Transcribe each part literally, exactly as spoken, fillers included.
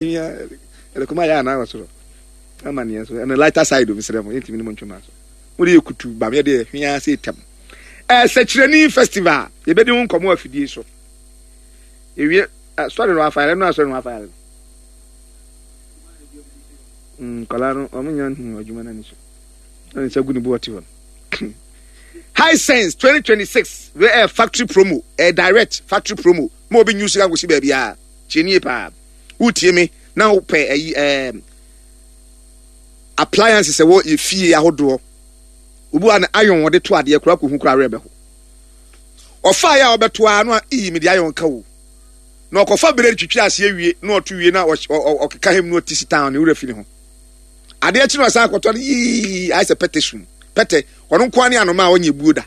Ɛde kɔma yɛ anaa wɔ soro ama neɛ so ɛno lighter side omi srɛ mo, yɛntumi ne mo ntwema so. Mo de yɛ kutu bam, yɛde yɛ hwea sɛ tam. Ɛsɛkyerɛni festival, yɛbɛdi ho nkɔmmɔ afidie so. Ewie sɔre no afa yɛrɛ no, asɔre no afa yɛrɛ no. Nkɔla no ɔmo nya nhu adwuma no ani so ɛna nsa gu ne bu ɔte hɔ no. Hisense twenty twenty-six wei ɛyɛ factory promo, ɛyɛ direct factory promo ma obi nyu sika nkosi baabi a tie nie paa. Wotie me na wopɛ ɛyi ɛɛm appliances ɛwɔ yɛ fie ahodoɔ, obi wa no iron wɔde to adeɛ kora kɔ hu kora awerɛ bɛho. Ɔfa yɛ a ɔbɛto a no a iyi mede iron ka wo na ɔkɔfa bere twitwi aseɛ wie na ɔto wie na ɔkeka hem na ɔti si town ne wura fi ne ho. Adeɛ kyi na ɔsan akɔtɔ no yii ayɛ sɛ pɛtɛ sum pɛtɛ. Ɔno nko ne anoma a ɔnyɛ buo da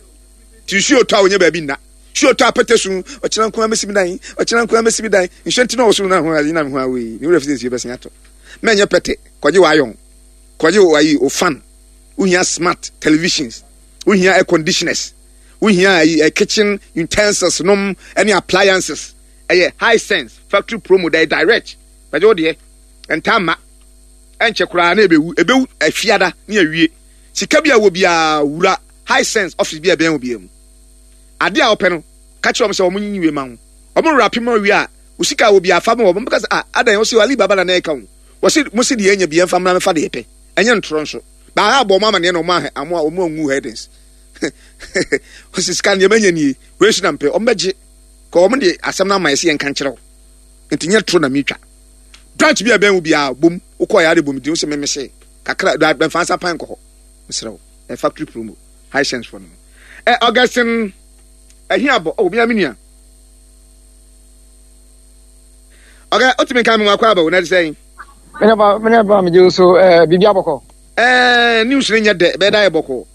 ti nsuo tɔ a ɔnyɛ baabi nna. Nsuo tɔ a pɛtɛ sum, ɔkyerɛ nko amesi mi dan, ɔkyerɛ nko amesi mi dan. Nsuo nti na ɔwɔ so na ho ayi na ho awo yi ne wura fi sɛ nsuo bɛsen atɔ. Mɛnyɛ pɛtɛ, kɔgye wɔ iron, kɔgye wɔ ayi o fan. Wohia smart televisions, wohia air conditioners, wohia ayi uh, kitchen utensils nom ɛne appliances. Ɛyɛ Hisense factory promo da direct. Bɛgye wo deɛ ntaa ma ɛnkyɛ koraa na ebewu ebewu afiada ne awie. Sika bi a wɔ biara, wura Hisense office bi a ɛbɛn wɔ biara mu, adeɛ a wɔpɛ no, ka kyerɛ wɔn sɛ wɔn nyi wie ma ho. Wɔn wura pem wie a, wo sika a wɔ biara fa ma wɔn. Bɛka sɛ, "Ah, adan wɔsi Ali Baba na na ɛka ho." Wɔsi mo si deɛ ɛnya bi ɛnfa mmra mɛfa deɛ pɛ. Ɛnyɛ ntorɔ nso baa abɔ wɔn amaneɛ na wɔn ahɛ wɔn a wɔn angu headings. Wɔsi sika nneɛma nya nie wei nso na mpɛ, wɔn bɛgye kɔ. Wɔn de asɛm no ama yɛ sɛ yɛn nka nkyerɛ wo, nti nyɛ toro na mi twa. Branch bi a ɛbɛn wo biara bom wokɔ yɛ ade bom di wo sɛ mɛmɛ sɛ kakra bɛnfa nsa pan kɔ hɔ. Mesrɛ wo, ɛ factory promo Hisense fo no. Ɛ Augustine ɛhin abɔ ɔ obi a mi nua ɔkɛ otumi nka mi mu akɔ aba o na ɛde sɛn. Mene ba, mene ba, megye wo so. ɛɛ biribi abɔkɔ. ɛɛ news ne nyɛ dɛ, bɛyɛ da yɛ bɔkɔ.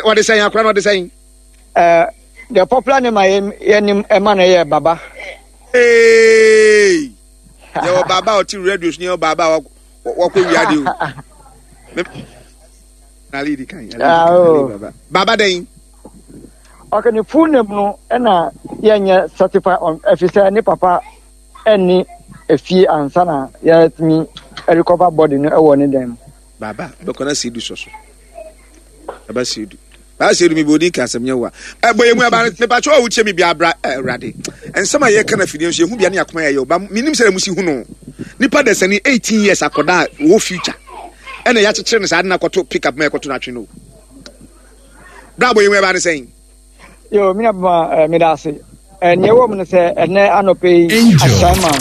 Wɔde sɛn akora no, wɔde sɛn? ɛɛ the popular name a yɛnim ɛma no yɛ Baba. Ee, yɛwɔ Baba a ɔte radio so ne yɛwɔ Baba a wakɔ wiade o. Ali di kan. Ali Baba dɛn? Ɔkɛ ne full name no ɛna yɛnyɛ certified on, ɛfi sɛ ne papa ɛne efie ansa na yɛtumi recover body no ɛwɔ ne dan mu. Baba bɛkɔ na seedu sɔ so. Baba seedu. Baba seedu mi bɔ odi ka asɛm nyɛ wa. Ɛbɔ yɛ mu aba mepatwa a wotie mi bi abra. Ɛwurade. Nsɛm a yɛka na fidie nso yɛhu bia ne akoma yɛ yɛ ba menim sɛ mu si hu no. Nipa dasani eighteen years akɔda a wɔ future. Ɛna yɛakyekyere no saa de no akɔto pick up ma yɛkɔto no atwe no. Bra bɔ yɛ mu ɛba ne sɛn? Yo, mi na bama ɛɛ mi da ase. Ɛɛ nea ɛwɔ mu no sɛ ɛnɛ anɔpɛ yi Ashaiman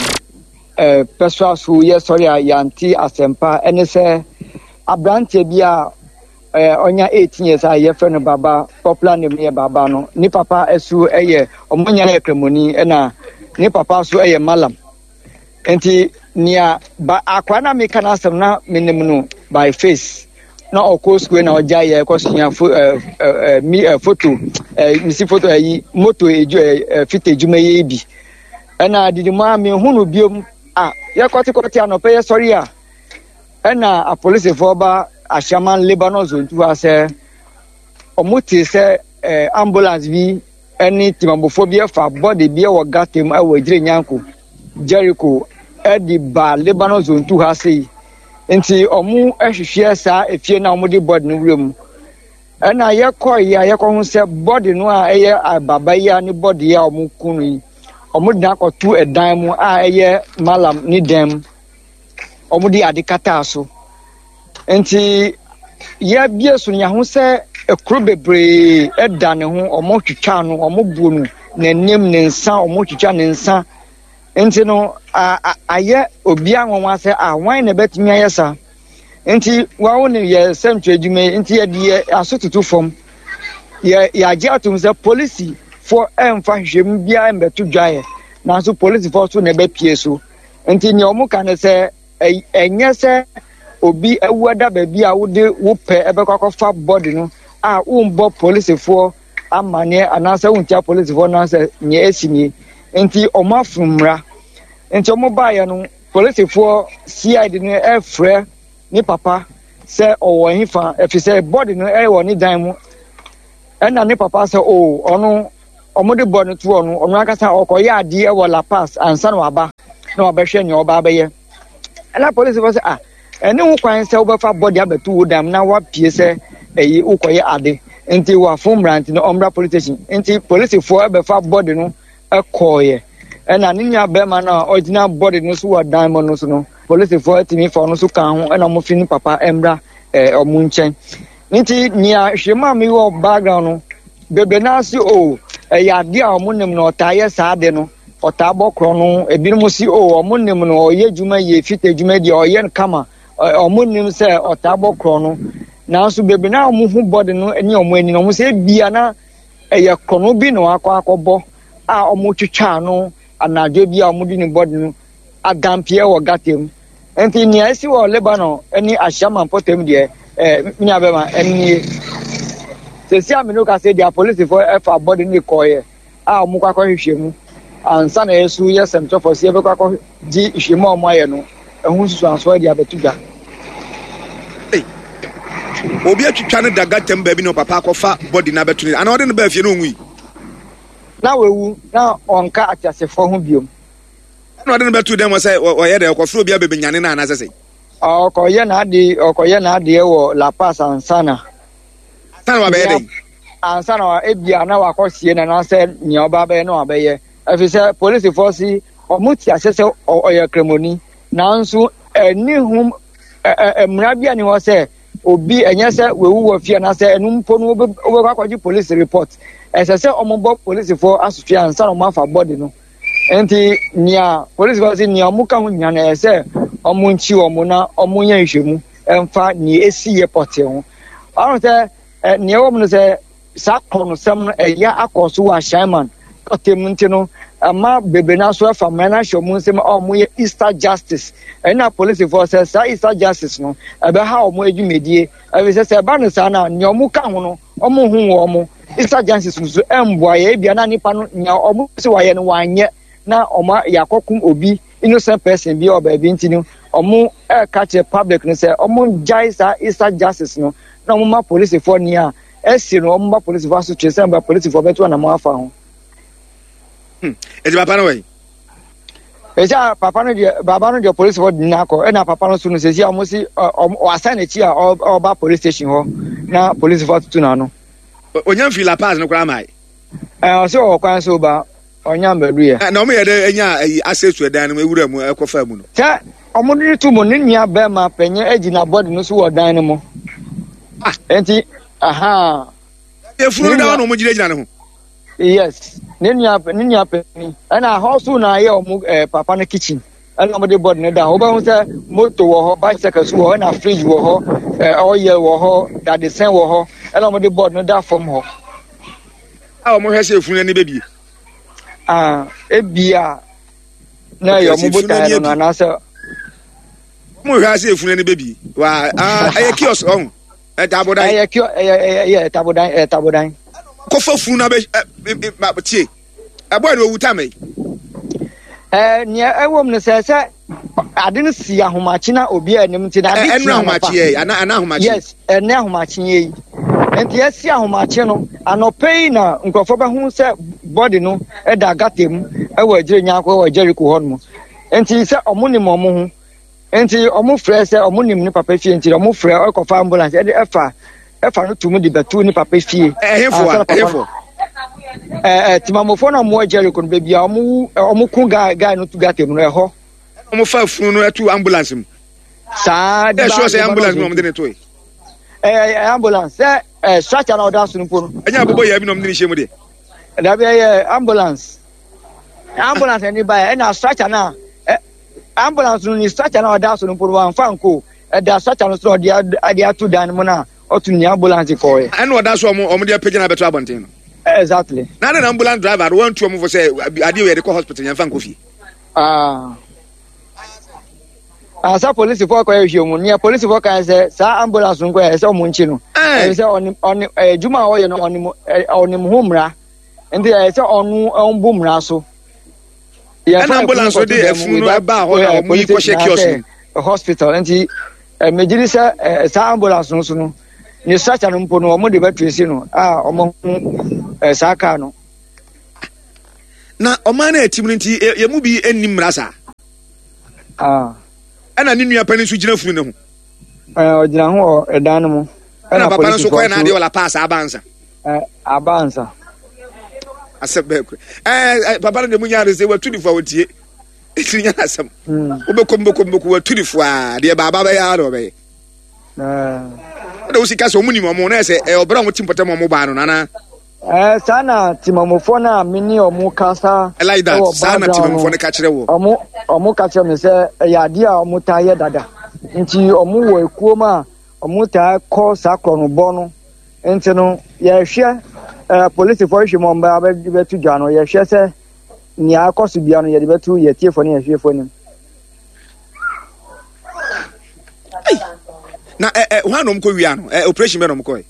ɛɛ pɛsoa so yɛ sɔre a yɛante asɛmpa ɛne sɛ aberanteɛ bi a ɛɛ ɔnya eighteen years a yɛfrɛ no Baba, popular name yɛ Baba no, ne papa ɛso ɛyɛ ɔmo nyinaa yɛ Kramoni, ɛna ne papa so ɛyɛ malam. Nti nea ba akora na meka n'asɛm na menim no by face na ɔkɔ sukuu na ɔgya yɛ kɔsua fo ɛɛ ɛɛ mi ɛ foto ɛ misi foto ɛyi moto edu ɛ ɛ fita edwuma yi bi. Ɛna didi mu a mehu no biom a yɛkɔtekɔte anɔpɛ yɛ sɔre a, ɛna apolisifoɔ ba Ashaiman Lebanon Zone Two ha sɛ ɔmo te sɛ ɛɛ ambulance bi ɛne timabofoɔ bi ɛfa body bi ɛwɔ gutter mu ɛwɔ Egyire Nyanko Jericho ɛde ba Lebanon Zone Two ha sei. Nti ɔmo ɛhwehwɛ saa efie na ɔmo de body no wura mu, ɛna yɛkɔ yi a yɛkɔ ho sɛ body no a ɛyɛ Baba yi a ne body a ɔmo ku no yi, ɔmo de no akɔto ɛdan mu a ɛyɛ malam ne dan mu. Ɔmo de ade kataa so. Nti yɛbie so no, yɛho sɛ ekuro bebree ɛda ne ho. Ɔmo twitwa no, ɔmo bu no n'anim, ne nsa, ɔmo twitwa ne nsa. Nti no a a ayɛ obiara nwanwa sɛ a wan na ɛbɛtumi ayɛ saa. Nti wɔn ne yɛ sɛntwerɛ adwuma yi, nti yɛde yɛ aso toto fam, yɛ yɛagye atom sɛ polisifoɔ ɛmfa hwehwɛmu biara mbɛto dwaeɛ, nanso polisifoɔ so na ɛbɛpie so. Nti nea wɔn ka ne sɛ ɛnyɛ sɛ obi awu ada baabi a wode wo pɛ ɛbɛkɔ akɔfa body no a wombɔ polisifoɔ amanneɛ anaasɛ wontia polisifoɔ no sɛ nea esi nie. Nti wɔn afom mmara. Nti wɔn baeɛ no, polisifoɔ C I D no ɛfrɛ ne papa sɛ ɔwɔ hefa, ɛfiri sɛ body no ɛwɔ ne dan mu. Ɛna ne papa sɛ o ɔno Ɔmo de bɔ no to ɔno ɔno ankasa ɔkɔyɛ adeɛ wɔ La Paz ansa na waba na wabɛhwɛ nea ɔba abɛyɛ. Ɛna polisifoɔ sɛ, ah, ɛne ho kwan sɛ wobɛfa body abɛto wo dam na wapie sɛ ɛyi wokɔyɛ ade, nti wafo mmara, nti no ɔmmra police station. Nti polisifoɔ ɛbɛfa body no ɛkɔɔyɛ. Ɛna ne nua bɛrima no a ɔgyina body no so wɔ dan mu no so no, polisifoɔ atumi fa ɔno so ka ho, ɛna ɔmo fi ne papa mmra ɛɛ ɔmo nkyɛn. Nti nea hwɛ mu a mi wɔ background no bebree n'ase o, ɛyɛ adeɛ a ɔmo nim no, ɔtaa yɛ saa ade no, ɔtaa bɔ korɔ no. Ebinom si o, ɔmo nim no, ɔyɛ adwuma yie, fita adwuma deɛ ɔyɛ no kama. Ɔmo nim sɛ ɔtaa bɔ korɔ no, nanso bebree na ɔmo ho body no ne ɔmo ani no, ɔmo sɛ ebia na ɛyɛ korɔ bi na wakɔ akɔbɔ a ɔmo twitwa no anadwo bi a ɔmo de ne body no adampeɛ wɔ gutter mu. Nti nea esi wɔ Lebanon ne Ahyiaman mpɔtam deɛ, ɛɛ nua bɛma ɛnie sɛsi a mene kasa deɛ, apolisifoɔ ɛfa body no kɔɔyɛ a ɔmo kɔ akɔhwehwɛ mu ansa na yɛsu yɛ sɛmtɔfo si yɛbɛkɔ akɔgye nhwehwɛmu a ɔmo ayɛ no ɛho nsusuansoɔ de abɛto dwa. Obi atwitwa no da gutter mu baabi na ɔpapa akɔfa body no abɛto ne ana ɔde no baa fie na ɔnwui? Na wawu na ɔnka ateasefoɔ ho biom. Ɛna ɔde no bɛto dɛm wɔ sɛ ɔyɛ dɛ ɔkɔfrɛ obi abɛbɛnyane no anaasɛ sɛ Ɔkɔyɛ n'ade, ɔkɔyɛ n'adeɛ wɔ La Paz ansa na ansa na wabɛyɛ dɛn? Ansa na ebia na wakɔsie no anaasɛ nea ɔba bɛyɛ na wabɛyɛ, ɛfiri sɛ polisifoɔ si ɔmo te ase sɛ ɔyɛ kramoni, nanso ɛni ho mmara bi a ni hɔ sɛ obi ɛnyɛ sɛ wewu wɔ fie anaasɛ ɛnu mpo no wobɛkɔ akɔgye police report. Ɛsɛ sɛ ɔmo bɔ polisifoɔ asotwe ansa na ɔmo afa body no. Nti nea polisifoɔ si nea ɔmo ka ho nyinaa no, ɛyɛ sɛ ɔmo nkyi ɔmo na ɔmo nyɛ nhwɛmu ɛmfa nea esi yɛ pɔtee ho. Ɔno sɛ ɛ nea ɛwɔ mu no sɛ saa kɔnɔsɛm no ɛyɛ akɔ so wɔ Ahyɛnman pɔtee mu, nti no ɛma bebree na so ɛfa mmara no ahyɛ ɔmo nsam a ɔmo yɛ Easter justice. Ɛna polisifoɔ sɛ saa Easter justice no ɛbɛha ɔmo adwumadie, ɛfiri sɛ sɛ ɛba no saa na nea ɔmo ka ho no, ɔmo hu wɔ ɔmo Easter justice nso ɛmboa yɛ. Ebia na nipa no nea ɔmo sɛ wayɛ no wanyɛ na ɔmo yɛakɔkum obi innocent person bi wɔ baabi, nti no ɔmo ɛɛka kyerɛ public no sɛ ɔmo gyae saa Easter justice no na ɔmo ma polisifoɔ nea ɛsi no, ɔmo ba polisifoɔ asotwe sɛ ɔmo ba polisifoɔ bɛto anamɔ afa ho. Ɛti papa no wɔ yi? Ɛsɛ a papa no deɛ, baba no deɛ, polisifoɔ de n'akɔ. Ɛna papa no so no, sɛsi a ɔmo si ɔmo wasan n'akyi a ɔba police station hɔ na polisifoɔ atutu n'ano. Onya mfiri La Paz no koraa maa yi? Ɛɛ, ɔsɛ ɔwɔ kwan so ba, ɔnya mbɛdu yɛ. Na ɔmo yɛ dɛ enya ayi access to ɛdan no mu, ewura mu ɛkɔfa mu no? Sɛ ɔmo de to mu, ne nua bɛrima panyin egyina body no so wɔ dan no mu. Ah. Nti aha. Efunu no da hɔ na ɔmo gyinagyina ne ho? Yes, ne nua ne nua panyin. Ɛna hɔ so na ayɛ ɔmo ɛɛ papa no kitchen, ɛna ɔmo de body no da hɔ. Wobɛhu sɛ moto wɔ hɔ, bicycle so wɔ hɔ, ɛna fridge wɔ hɔ, ɛɛ ɔyɛ wɔ hɔ, dadesɛn wɔ hɔ, ɛna ɔmo de body no da fam hɔ. A ɔmo hwɛ sɛ efunu ani bɛbie? Aa, ebia na ɛyɛ ɔmo botaeɛ no no anaasɛ Ɔmo hwɛ sɛ efunu ani bɛbie wa aa, ɛyɛ kiosk ɔho, ɛtabodan. Ɛyɛ kio, ɛyɛ ɛyɛ ɛyɛ tabodan, ɛyɛ tabodan. Kɔfa funu na bɛ ɛ ɛ tie, ɛbɔ ɛna owu tam yi. Ɛɛ, nea ɛwɔ mu no sɛ sɛ ade no si ahomakye na obi anim, nti na ade si ɛnura ahomakye yɛ ana ana ahomakye? Yes, ɛnɛ ahomakye yɛ yi. Nti ɛsi ahomakye no anɔpɛ yi na nkurɔfoɔ bɛho sɛ body no ɛda gutter mu ɛwɔ agyire nyaako ɛwɔ Jericho hɔ nom. Nti sɛ ɔmo nim ɔmo ho, nti ɔmo frɛ sɛ ɔmo nim ne papa fie, nti ɔmo frɛ ɛkɔfa ambulance ɛde ɛfa ɛfa no tum de bɛto ne papa fie. Ɛhefo a ɛhefo? Ɛɛ, timamofoɔ na ɔmo wɔ Jericho no, baabi a ɔmo wu, ɔmo ko guy guy no to gutter mu no ɛhɔ. Ɔmo fa funu no ɛto ambulance mu? Saa. Ɛ sure sɛ ambulance mu na ɔmo de ne to yi? Ɛɛ, ɛyɛ ambulance sɛ ɛɛ structure na ɔda so no mpo no. Ɛnyɛ abobɔ yɛ bi na ɔmo de ne hyɛ mu deɛ? Dabi, ɛyɛ ambulance ambulance ɛni ba yɛ, ɛna structure na ɛ ambulance no ni structure na ɔda so no mpo no, wɔnfa nko ɛda structure no so na ɔde ade ato dan no mu na ɔto ni ambulance kɔɛ. Ɛna ɔda so ɔmo ɔmo de apagya na abɛto abɔnten no? Exactly. Na ne na ambulance driver no wɔntu ɔmo fo sɛ adeɛ wɔ yɛde kɔ hospital, yɛn fa nkɔ fie? Aa, asa polisifoɔ kɔ ɛhwɛ mu, nea polisifoɔ kan sɛ saa ambulance no kɔ yɛ sɛ ɔmo nkyi no, ɛyɛ sɛ ɔnim ɔnim ɛyɛ adwuma a ɔyɛ no, ɔnim ɔnim ho mmara, nti ɛyɛ sɛ ɔno ɔmbu mmara so. Ɛna ambulance no de afunu no ɛbaa hɔ na ɔmo yi kɔhyɛ kiosk mu hospital. Nti megye di sɛ saa ambulance no so no, ne structure no mpo no, ɔmo de bɛto esi no a ɔmo ho saa kaa no. Na ɔman no atim no nti yɛ mu bi nni mmara saa. Ah. Ɛna ne nua panin nso gyina funu ne ho. Ɛɛ ɔgyina ho wɔ ɛdan no mu. Ɛna papa no nso kɔɛ n'adeɛ wɔ La Paz aba ansa. Ɛɛ aba ansa. Asɛm bɛɛ kura. Ɛɛ papa no deɛ mu nyaa no sɛ watu ne fo a wɔtie. Ɛtiri nya n'asɛm. Wobɛkɔ mu bɛkɔ mu bɛkɔ watu ne fo a deɛ baaba bɛyɛ ara na ɔbɛyɛ. Ɛna wosi ka sɛ ɔmo nim ɔmo na ɛsɛ ɛyɛ ɔbrɛ a ɔmo ti mpɔtam ɔmo baa no nana. Ɛɛ saa na timamufoɔ no a me ne ɔmo kasa like that ɛwɔ saa na background timamufoɔ no ka kyerɛ wɔ. Ɔmo ɔmo ka kyerɛ me sɛ ɛyɛ adeɛ a ɔmo taa yɛ dada nti ɔmo wɔ ekuo mu a ɔmo taa kɔ saa korɔnobɔ no nti no yɛhwɛ ɛɛ polisifoɔ hwehwɛ mu ɔmo bɛ bɛto dwa no yɛhwɛ sɛ nea akɔ so bia no yɛde bɛto yɛ tiefoɔ ne yɛhwɛfoɔ anim. Na ɛ ɛ hwan na ɔmo kɔ wia no ɛ operation bɛ na ɔmo kɔɛ.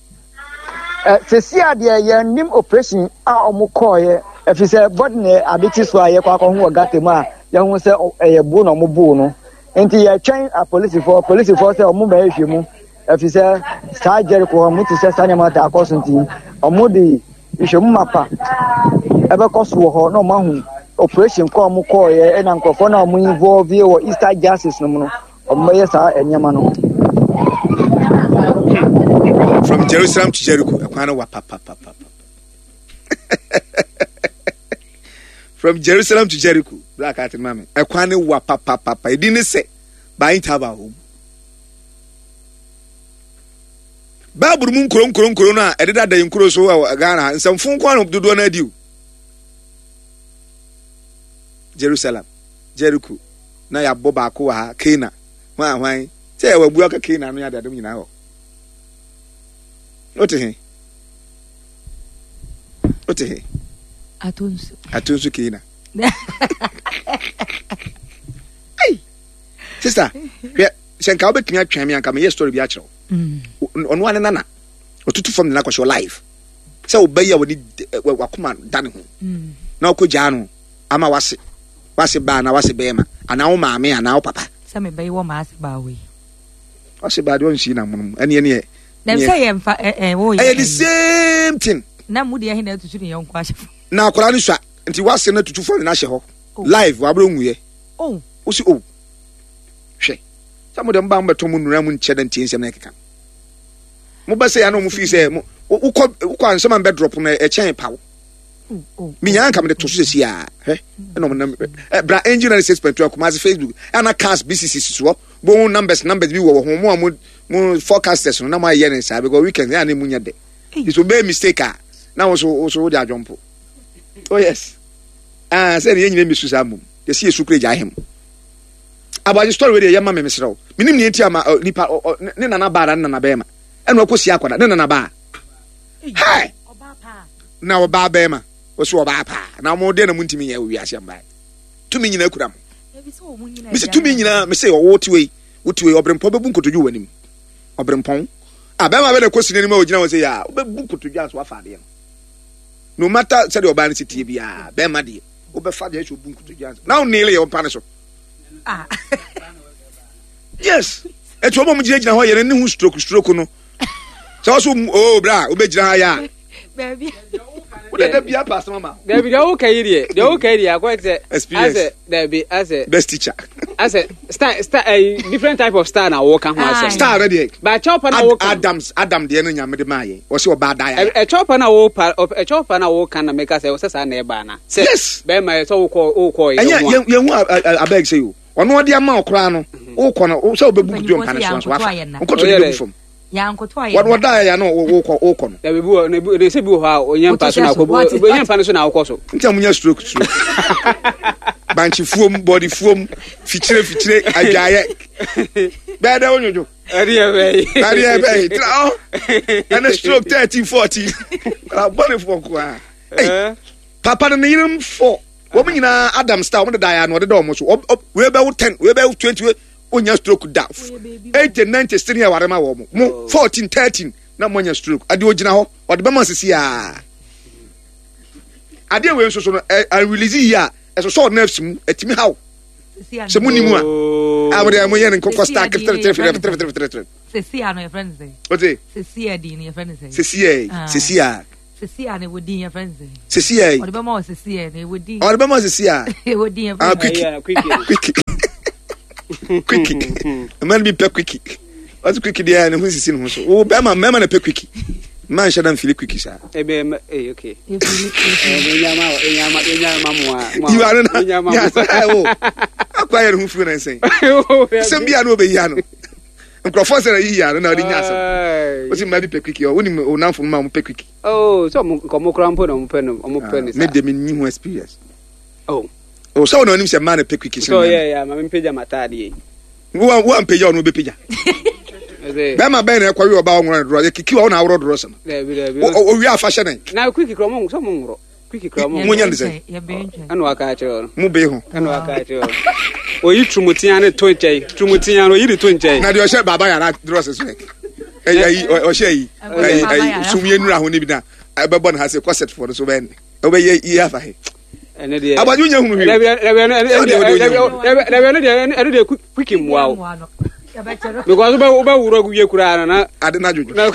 Ɛ sisi adeɛ yɛn nim operation a ɔmo kɔɔyɛ ɛfiri sɛ bɔdi na ade kyi so a yɛkɔ akɔho wɔ gata mu a yɛho sɛ ɛyɛ bo na ɔmo boo no nti yɛtwɛn apolisifoɔ polisifoɔ sɛ ɔmo bɛyɛ hwɛ mu ɛfiri sɛ saa Jericho hɔ ɔmo te sɛ saa nneɛma ta akɔ so nti ɔmo de nhwɛmu mapa ɛbɛkɔ so wɔ hɔ na ɔmo ahu operation kɔ ɔmo kɔɔyɛ ɛna nkurɔfoɔ na ɔmo involve wɔ Easter justice no mu no ɔmo bɛyɛ saa nneɛma no. From Jerusalem to Jericho, ɛkwan no wa papapapa. From Jerusalem to Jericho, black ati maame, ɛkwan no wa papapapa. Edi ne sɛ, by interval hɔ. Bible mu nkuro nkuro nkuro no a ɛdeda da nkuro so wɔ Ghana ha, nsɛmfo nko ara dodoɔ no adi o. Jerusalem, Jericho, na yɛabɔ baako wɔ ha, Cana, hwan hwan, sɛ yɛwɔ abu aka Cana no yɛ adeade nyinaa hɔ. Wote he? Wote he? Atonsu. Atonsu Cana. Hey! Sister, hwɛ sɛ nka wobɛtumi atwɛn me anka meyɛ story bi akyerɛ wo. Ɔno ane nana ɔtutu fam de no akɔhyɛ live sɛ ɔba yi a wɔne wakoma da ne ho na ɔkɔ gyaa no ama wase wase baa na wase bɛrima anaa wo maame anaa wo papa. Sɛ mebɛyi wɔ maase baa wei. Wase baa deɛ ɔnsi na monom ɛne ɛne ɛ. Sɛ yɛ mfa ɛ ɛ wo yɛ. Ɛyɛ the same thing. Na mu deɛ ɛhe na atutu ne yɔnko ahyɛ fam. Na akwadaa no sua nti wase no atutu fam de no ahyɛ hɔ live wabere nwuyɛ. Oh. Wosi oh hwɛ. Sɛ mo de mo ba mo bɛtɔ mo nnura mo nkyɛ dɛ ntie nsɛm na ɛkeka mo bɛ sɛ ya na ɔmo fi sɛ mo wokɔ wokɔ ansɛm a mbɛ drop no ɛkyɛn paw minya anka mo de to so sɛsi a hwɛ ɛna ɔmo nam ɛ bra angel ninety six point two Kumasi Facebook ɛna cars bi sisi soɔ bohu numbers numbers bi wɔ wɔ ho mo a mo mo forecasters no na mo ayɛ ne saa because weekend ɛna ne mu nyɛ dɛ nti so bɛyɛ mistake a na wo so wo so wo de adwɔmpo oh yes ah sɛ ne yɛn nyina mi su saa mmom yɛsi yɛ su kura gya ahem. Aboagye story wei deɛ yɛ ma me mesrɛ wo menim nea nti ama nipa ne nana baa na ne nana bɛrima ɛna ɔkɔ si akɔda ne nana baa hɛ na ɔbaa bɛrima ɔsi ɔbaa paa na wɔn deɛ na mo ntumi yɛ wɔ wiase mbaa tumi nyinaa kura mo mesi tumi nyinaa mesi ɔwɔ tiwe yi wotiwe yi ɔbrempɔn bɛbu nkotodwe wɔ anim ɔbrempɔn a bɛrima bɛ na kɔ si n'anim a ɔgyina hɔ sɛ yɛ a wobɛbu nkotodwe anso wafa adeɛ no no matter sɛdeɛ ɔbaa no si tie biara bɛrima deɛ wobɛfa deɛ ɛsɛ ɔbu nkotodwe anso na wonele yɛ ɔmpa no so. Ah. Yes. Etu ọmọ mu gyinagyina hɔ yɛn ne ho stroke stroke no. Sɛ ɔso o bra wobɛgyina ha yɛ a. Baabi. Wode da bia pa asɛm ama. Dabi deɛ woka yi deɛ deɛ woka yi deɛ akɔyɛ sɛ. Experience. Asɛ dabi asɛ. Best teacher. Asɛ star star ɛyi different type of star na wɔka ho asɛm. Star no deɛ. Ba kyɛw pa na wɔka. Adams Adam deɛ no nyame de maa yɛn. Ɔsɛ ɔbaa da yɛ. Ɛkyɛw pa na wɔpa ɛkyɛw pa na wɔka na meka sɛ ɔsɛ saa na ɛba na. Sɛ yes. Bɛrima yɛ sɛ wokɔ wokɔ yɛ ho a. Ɛnyɛ yɛn ho abeg sɛ yo. Ɔno ɔde ama ɔkoraa no wokɔ no sɛ wobɛbu kutu mpa no so nso wafa nkɔtɔ de bɛgu fam. Wɔde wɔda yɛ no wokɔ wokɔ no. Dabi bi wɔ na bi sɛ bi wɔ hɔ a ɔnyɛ mpa so na akɔ ɔnyɛ mpa no so na akɔ so. Nti a munya stroke stroke. Bankye fuom bɔde fuom fikyire fikyire adwaayɛ. Bɛɛ dɛ wonwodwo. Ɛdeɛ bɛyi. Ɛdeɛ bɛyi. Tena hɔ. Ɛne stroke thirteen fourteen. Abɔnefoɔ nko ara. Papa no ne yerenom four. Wɔn nyinaa Adam star wɔn deda ya na ɔdeda wɔn so. Wei bɛwo ten, wei bɛwo twenty, wei onya stroke da. Eighty, ninety, sini ɛware ma wɔn. Mo fourteen, thirteen na mo anya stroke. Adeɛ ogyina hɔ, ɔde bɛma sisi aa. Adeɛ wei nso so no, ɛ ɛ yi a ɛsosɔ nerves mu, ɛtumi haw. Sɛ mo ni mu a, a mo deɛ mo yɛ ne nkokɔ star three three three three three three three. Sisi a no yɛ fɛn sɛ. O te. Sisi a di no yɛ fɛn sɛ. Sisi a, sisi a. Sisi a na ɛwɔ din yɛ fɛn sɛ. Sisi yɛ. Ɔde bɛma wɔ sisi yɛ na ɛwɔ din. Ɔde bɛma sisi a. Ɛwɔ din yɛ fɛn. Ah, quickie. Quickie. Quickie. Mmaa no bi pɛ quickie. Ɔsi quickie deɛ ne ho sisi ne ho so. Wo bɛrima mmarima na pɛ quickie. Mmaa nhyɛ da nfili quickie saa. Ebe ɛmɛ ee okay. Yiwa no na nyasa ɛwɔ. Akɔ ayɛ ne ho firi na nsɛn. Sɛm bi a na ɔbɛyi ano. Nkurɔfoɔ sɛ na yiyi ano na ɔde nya asɛm. Wosi mmaa bi pɛ quickie ɔ wonim onamfo mmaa wɔn pɛ quickie. Oh, sɛ ɔmo nka ɔmo kora mpo na ɔmo pɛ no ɔmo pɛ ne saa. Me de me nni ho experience. Oh. O sɛ wɔn anim sɛ mmaa na pɛ quickie sɛ. So yɛ yɛ maame mpagya m'ataade yi. Wo wo ampagya ɔno ɔbɛpagya. Bɛrima bɛn na ɛkɔwe ɔbaa ɔnworɔ ne dorɔ yɛ kiki wa ɔna aworɔ dorɔ sɛm. Dabi dabi. Owie afa hyɛ ne. Na quickie kura ɔmo sɛ ɔmo nworɔ. Quickie kura ɔmo. Mo nya ne sɛ. Ɛna waka akyerɛ ɔno. Mo bee ho. Ɛna waka akyerɛ ɔno. Oyi turumutia ne to nkyɛn. Turumutia no oyi de to nkyɛn. Na deɛ ɔhyɛ baaba yàrá dorɔ sɛ so yɛ. Ɛyi ɔhyɛ yi ɛyi ɛyi sumie nura ho ne bi na ɛbɛbɔ ne ha sɛ kɔsɛt fo no so bɛn ɔbɛyɛ yi afa he. Ɛne deɛ. Abadwo nya hunu hwee. Dabi dabi ɛno ɛno dabi ɛno deɛ ɛno deɛ quickie mmoa wo. Because wobɛ wobɛ wura wie koraa no na. Ade na dwodwo.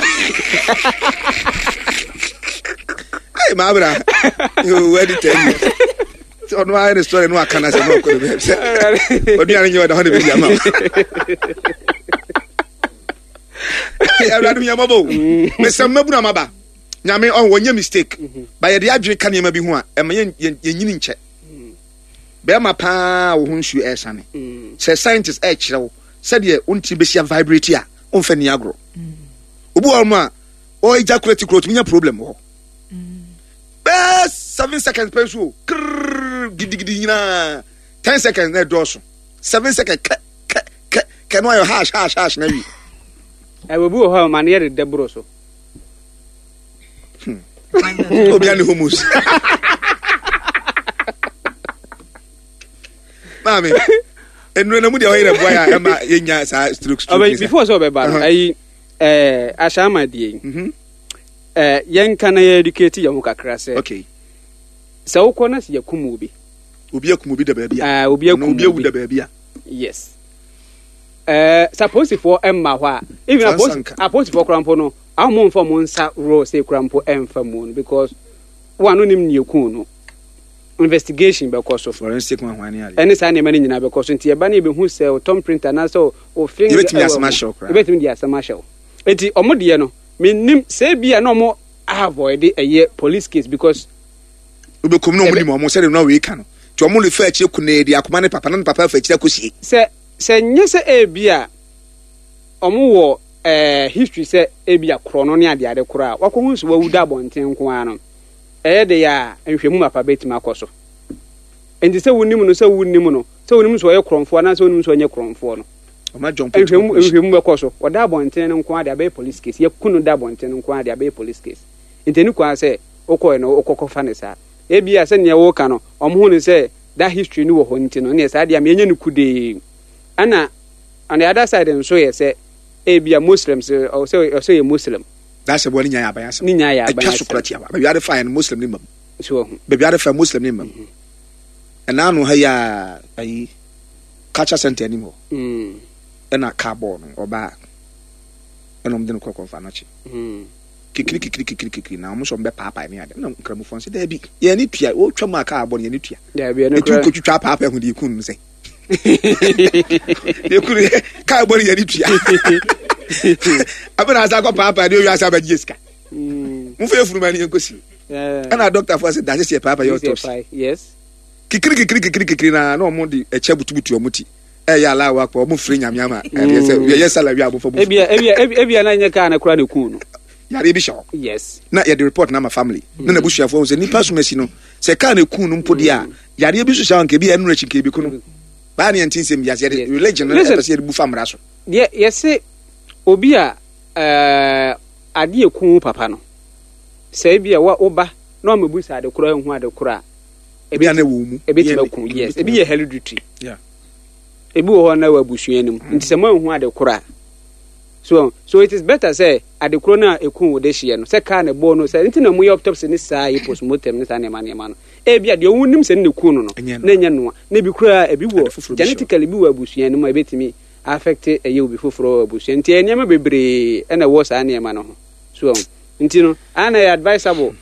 Ayi maa bra wadi ten years. Sɛ ɔno ayɛ ne story no aka na sɛ no ɔkɔ ne baabi sɛ ɔduane nyɛ ɔda hɔ ne bɛdi ama wo. Awurade hu yɛn mmɔbɔ o. Mesɛ mmabunu amaba. Nyame ɔn wɔnyɛ mistake. Ba yɛde adwene ka nneɛma bi ho a ɛma yɛn yɛn yɛnyini nkyɛ. Bɛrima paa wo ho nsuo ɛresane. Sɛ scientist ɛrekyerɛ wo sɛdeɛ wo ntini bɛsi vibrate a womfa ni agorɔ. Obi wɔ hɔ a ɔ ejaculate kura otumi nya problem wɔ hɔ. Bɛɛ seven seconds pɛ nso o krrrr gidigidi nyinaa ten seconds na ɛdɔɔso seven seconds kɛ kɛ kɛ kɛ no ayɛ hash hash hash na wie. Ɛwɔ bi wɔ hɔ a ma no yɛ deda boro so. Hmm. Obi ani homos. Maame, nnuro na mu deɛ ɔyɛ na boa yɛ a ɛma yɛnya saa stroke stroke. Ɔbɛ before sɛ ɔbɛba no ayi ɛɛ ahyɛnma die yi. Mhm. Ɛɛ yɛnka na yɛ educate yɛn ho kakra sɛ. Okay. Sɛ wokɔ na sɛ yɛkum obi. Obi akum obi da baabi a. Ɛɛ obi akum obi. Obi awu da baabi a. Yes. Ɛɛ sɛ apolisifoɔ mma hɔ a even apolisi apolisifoɔ kora mpo no ahom mfa wɔn nsa raw sɛ kora mpo ɛmfa mu no because wɔn ano nim nea ekun no investigation bɛkɔ so. Forensic ho ahoa ne ade. Ɛne saa nneɛma no nyinaa bɛkɔ so nti ɛba no yɛbɛhu sɛ o thumb print anaasɛ o finger yɛbɛtumi asɛm ahyɛ wo koraa. Yɛbɛtumi de asɛm ahyɛ wo. Nti ɔmo deɛ no menim sɛ ebi a na ɔmo avoid ɛyɛ police case because. Wobɛkum na ɔmo nim ɔmo sɛdeɛ na wei ka no nti ɔmo refa akyire kunee de akoma ne papa na ne papa afa akyire akɔsie. Sɛ sɛ nyɛ sɛ ebi a ɔmo wɔ ɛɛ history sɛ ebi a korɔ no ne adeade korɔ a wakɔhu sɛ wawu da abɔnten nko ara no ɛyɛ de yɛ a nhwɛmu mapa bɛtumi akɔ so. Nti sɛ wonim no sɛ wonnim no sɛ wonim sɛ ɔyɛ korɔmfoɔ anaasɛ wonim sɛ ɔnyɛ korɔmfoɔ no nhwɛmu nhwɛmu bɛkɔ so. Ɔda abɔnten no nko ara de abɛyɛ police case. Yɛku no da abɔnten no nko ara de abɛyɛ police case. Nti ɛni kwan sɛ wokɔɛ no wokɔkɔfa no saa. Ebi a sɛnea woka no ɔmo hu no sɛ that history no wɔ hɔ nti no ɛneɛ saa deɛ ama yɛnyɛ no kudee. Ɛna on the other side nso yɛ sɛ ebi a Muslims ɔsɛ ɔsɛ yɛ Muslim. That's why ne nyaa aban asɛm. Ne nyaa yɛ aban asɛm. Atwa so kora tiawa. Baabi ade fa yɛ no Muslim ne mam. So wahu. Baabi ade fa Muslim ne mam. Ɛna ano ha yi a ayi culture center anim hɔ. Mm. Ɛna car bɔɔl no ɔbaa ɛna ɔmo de no kɔ kɔnfa n'akyi. Mm. Kikiri kikiri kikiri kikiri na ɔmo sɛ ɔmo bɛ paapae ne ade na nkramofoɔ nso daabi yɛn ani tua wɔtwa mu a kaa bɔ no yɛn ani tua. Daabi ɛno Etu kora. kotwitwa paapae ho deɛ ekun no sɛ. Deɛ ekun no kaa bɔ no yɛn ani tua. Abena asa akɔ paapae deɛ owi asa abɛgye sika. Mm. Mo fɛ efunu ma ne yɛn kɔsi. Yeah. Ɛna dɔktafoɔ sɛ daase sɛ paapae yɛ autopsy. Yes. Kikiri kikiri kikiri kikiri na na ɔmo de ɛkyɛ butubutu ɔmo ti. Ɛyɛ alawo akɔ ɔmo firi nyame ama ɛdeɛ sɛ yɛyɛ sala wi abɔfra mu. Ebia ebia ebia na nyɛ kaa na kora na ekun no. Yareɛ bi hyɛ hɔ. Yes. Na yɛde report na ama family. Na n'abusuafoɔ sɛ nipa som asi no sɛ kaa na ekun no mpo deɛ a yareɛ bi so hyɛ hɔ nka ebi ɛnura akyi nka ebi ko no. Baa ne yɛn ti nsɛm bi ase yɛde religion no ɛpɛ sɛ yɛde bu fa mmara so. Deɛ yɛse obi a ɛɛ adeɛ ekun papa no sɛ ebi a wo ba na ɔmo ebu sa ade korɔ ehu ade korɔ a. Ebi a na ɛwɔ mu. Ebi ti bɛ kun yes ebi yɛ hereditary. Yeah. Ebi wɔ hɔ na wɔ abusua no mu nti sɛ mo ehu ade korɔ a so so it is better sɛ ade korɔ no a ekun wo de hyeɛ no sɛ kaa na ɛbɔɔ no sɛ nti na mo yɛ autopsy ne saa yɛ postmortem ne saa nneɛma nneɛma no ebi a deɛ wɔn nim sɛ ne na ekun no no na ɛnyɛ noa na ebi koraa ebi wɔ genetically bi wɔ abusua no mu a ebetumi affect ɛyɛ obi foforɔ wɔ abusua nti ɛyɛ nneɛma bebree ɛna ɛwɔ saa nneɛma no ho so nti no ana ɛyɛ advisable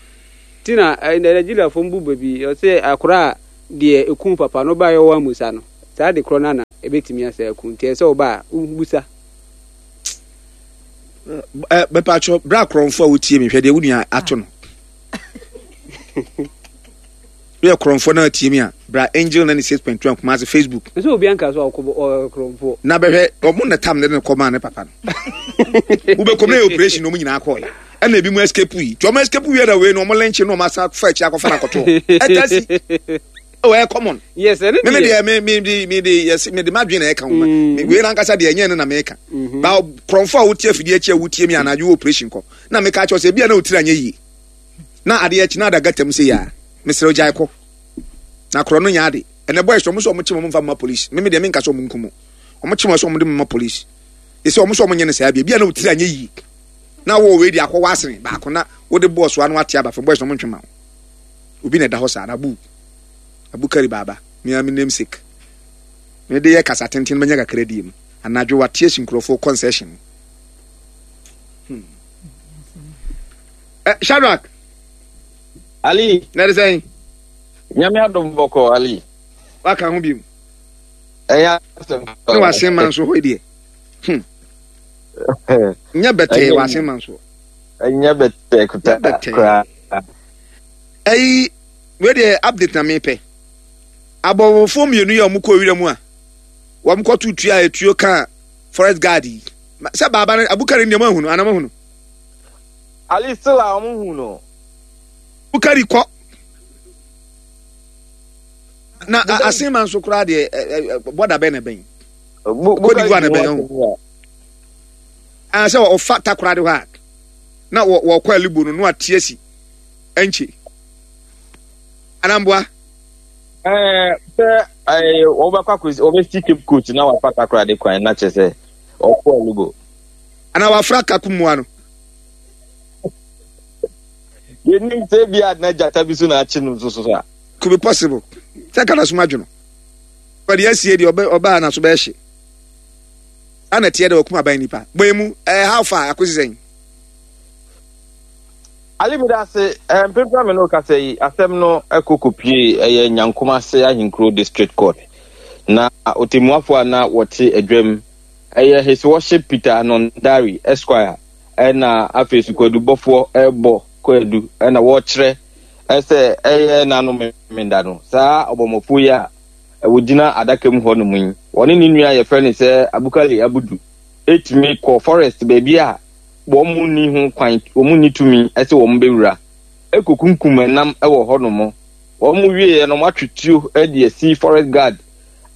Ti na Nigeriafoɔ mbu baabi ɔsɛ akora a deɛ ekum papa no ba yɛ wɔ amusa no saa de korɔ no na ebetumi asɛ aku, nti ɛsɛ ɔba a wobusa. Ɛ bɛpatwɔ bra korɔmfo a wotie mi, hwɛ deɛ wo nua ato no. Woyɛ korɔmfo na atie mi a, bra Angel ninety six point one Kumasi Facebook. Nso obi anka so ɔkɔ ɔyɛ korɔmfo. Na bɛhwɛ ɔmo na tam ne ne kɔ maa ne papa no. Wobɛkɔm na yɛ operation na ɔmo nyinaa kɔɔyɛ, ɛna ebi mu escape yi, tí ɔmo escape wie na wei no ɔmo lɛnkye na ɔmo asa fa akyi akɔfa na akɔtɔ ɛta si o, ɛyɛ common. Yes, ɛne. Me me deɛ, me me de me de yɛsi me de ma dwen na ɛka ho ma me wei nankasa deɛ, ɛnyɛ no na meka ba. Korɔmfo a wotie afidie akyi a wotie mi anadwo wɔ operation kɔ na meka kyerɛ sɛ ebi a na otiri anyɛ yie na adeɛ akyi na ada gata mu sɛ yɛ a, mesrɛ ogyae kɔ na korɔ no nyɛ ade. Ɛnɛ boys ɔmo sɛ ɔmo kye mo mfa ma police. Me me deɛ, menka sɛ ɔmo nkum ɔmo, kye mo sɛ ɔmo de mo ma police. Yɛsɛ ɔmo sɛ ɔmo nyɛ no saa bi, ebi a na otiri anyɛ yie na wɔ wei de akɔ wɔ asene baako na wode bɔɔso ano ate aba fam. Boys na ɔmo ntwe ma wo, obi na ɛda hɔ saa na abu Abukari baaba mea me namesake me de yɛ kasa tenten bɛnya kakra die mu anadwo wate asi nkurɔfoɔ concession hmm. eh, Shadrack. Ali. Na ɛde sɛn? Nyame adom, bɔkɔ, Ali. Waka ho biom. Ɛyɛ asɛm. Ne wasen ma nso hɔ deɛ, hmm. Nyɛ bɛtɛɛ wasen ma nso. Ɛnyɛ bɛtɛɛ kuta koraa. Ɛyi wei deɛ, update na mepɛ. Abɔbɔfoɔ mmienu yi a wɔn kɔ wira mu a wɔn kɔto tua a etuo ka forest guard yi sɛ baaba no Abukari nneɛma ahunu anam ahunu. Ali, still a wɔn hu no. Abukari kɔ na asema nso koraa deɛ, bɔda bɛn na bɛn Cote d'Ivoire na bɛn ho a sɛ ɔfa Takoradi hɔ a na wɔkɔ Alibo no na wate asi ɛnkye anamboa. Ɛɛ sɛ ɛɛ wɔbɛkɔ akɔsi, wɔbɛsi Cape Coast na wafa Takoradi kwan na kyerɛ sɛ ɔkɔ Alibo. Ana wafra kakumua no. Yɛnim sɛ bi a na gyata bi so na akye no nso so a. Could be possible sɛ kana soma dwono ɔde asie deɛ ɔbaa na so bɛyɛ hye ana teɛ dɛ ɔkum aban nipa bɔn mu. Ɛɛ how far akosi sɛn? Ali, mi da ase. Ɛɛ mpempem mi no kasa yi, asɛm no ɛkɔ kɔpie ɛyɛ Nyankomase Ahenkuro District Court, na otemmuafo a na wɔte adwam ɛyɛ His Worship Peter Anondari Esquire, ɛna afei sukwadubɔfoɔ ɛbɔ kwadu ɛna wɔrekyerɛ ɛsɛ ɛyɛ n'ano memenda no saa ɔbɔmmɔfoɔ yi a wɔgyina adaka mu hɔ nom yi, wɔne ne nua yɛfrɛ no sɛ Abukali Abudu ɛtumi kɔ forest baabi a wɔn mu nni ho kwan, wɔn mu nni tumi ɛsɛ wɔn bɛwura ɛkɔkunkum ɛnam ɛwɔ hɔ nom. Wɔn mu wieɛ no, wɔn atwe tuo ɛde asi forest guard,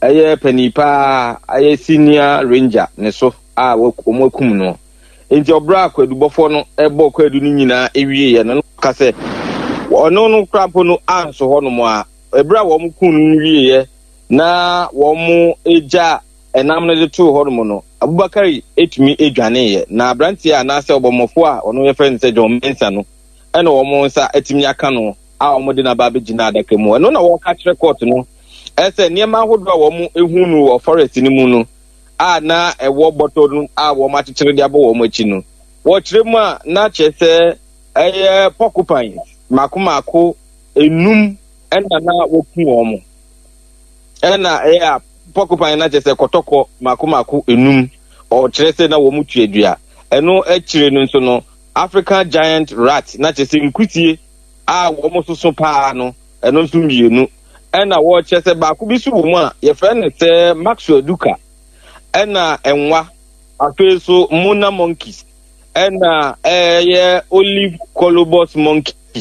ɛyɛ panin paa, ɛyɛ senior ranger ne so a wɔn akum no. Nti ɔbrɛ a kwadubɔfoɔ no ɛbɔ kwadu no nyinaa ewieɛ no, ka sɛ ɔno no kora mpo no anso hɔ nom a ɛberɛ a wɔn kun no wieɛ na wɔn gya ɛnam no de too hɔ nom no, Abubakari etumi edwaneeɛ, na aberanteɛ a anaasɛ ɔbɔmmɔfoɔ a ɔno yɛfrɛ no sɛ John Mensa no ɛna wɔn nsa atumi aka no a wɔn de n'aba abɛgyina adaka mu. Ɛno na wɔka kyerɛ court no ɛsɛ nneɛma ahodoɔ a wɔn ehu no wɔ forest no mu no a na ɛwɔ bɔtɔ no a wɔn akyekyere de abɔ wɔn akyi no, wɔkyerɛ mu a na kyerɛ sɛ ɛyɛ porcupines mako mako enum ɛna na wɔku wɔn, ɛna ɛyɛ a porcupine na kyerɛ sɛ kɔtɔkɔ mako mako enum. Ɔkyerɛ sɛ na wɔn tuadua. Ɛno akyire no nso no, African giant rat na kyerɛ sɛ nkusie a wɔn soso paa no, ɛno nso mmienu, ɛna wɔkyerɛ sɛ baako bi so wɔ mu a yɛfrɛ no sɛ Maxwell Duka, ɛna ɛnwa afei so mona monkeys, ɛna ɛyɛ olive colobus monkey a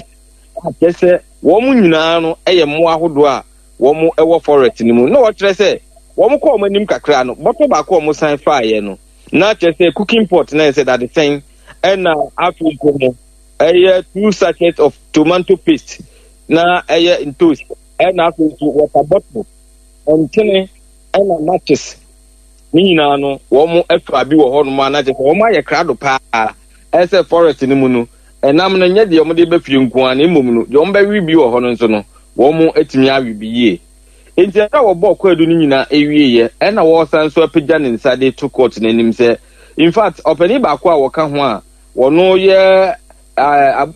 kyerɛ sɛ wɔn nyinaa no yɛ mmoa ahodoɔ a wɔn wɔ forest no mu. Na wɔkyerɛ sɛ wɔn kɔ wɔn anim kakra no, bɔtɔ baako a wɔn san faeɛ no na kyerɛ sɛ cooking pot na yɛ sɛ dadesɛn, ɛna afei nso no ɛyɛ two sachets of tomato paste na ɛyɛ ntos, ɛna afei nso water bottle, nkyene, ɛna matches. Ne nyinaa no wɔn afa bi wɔ hɔnom a na kyerɛ sɛ wɔn ayɛ krado paa ɛsɛ forest no mu no, ɛnam no nyɛ deɛ wɔn de bɛ fie nko ara, na mmom no deɛ wɔn bɛwe bi wɔ hɔ no nso no, wɔn atumi awe bi yie. Nti ɛberɛ a wɔbɔɔ kwaadu no nyinaa awieeɛ, ɛna wɔresan nso apagya ne nsa de to court no anim sɛ in fact ɔpanin baako a wɔka ho a wɔno yɛ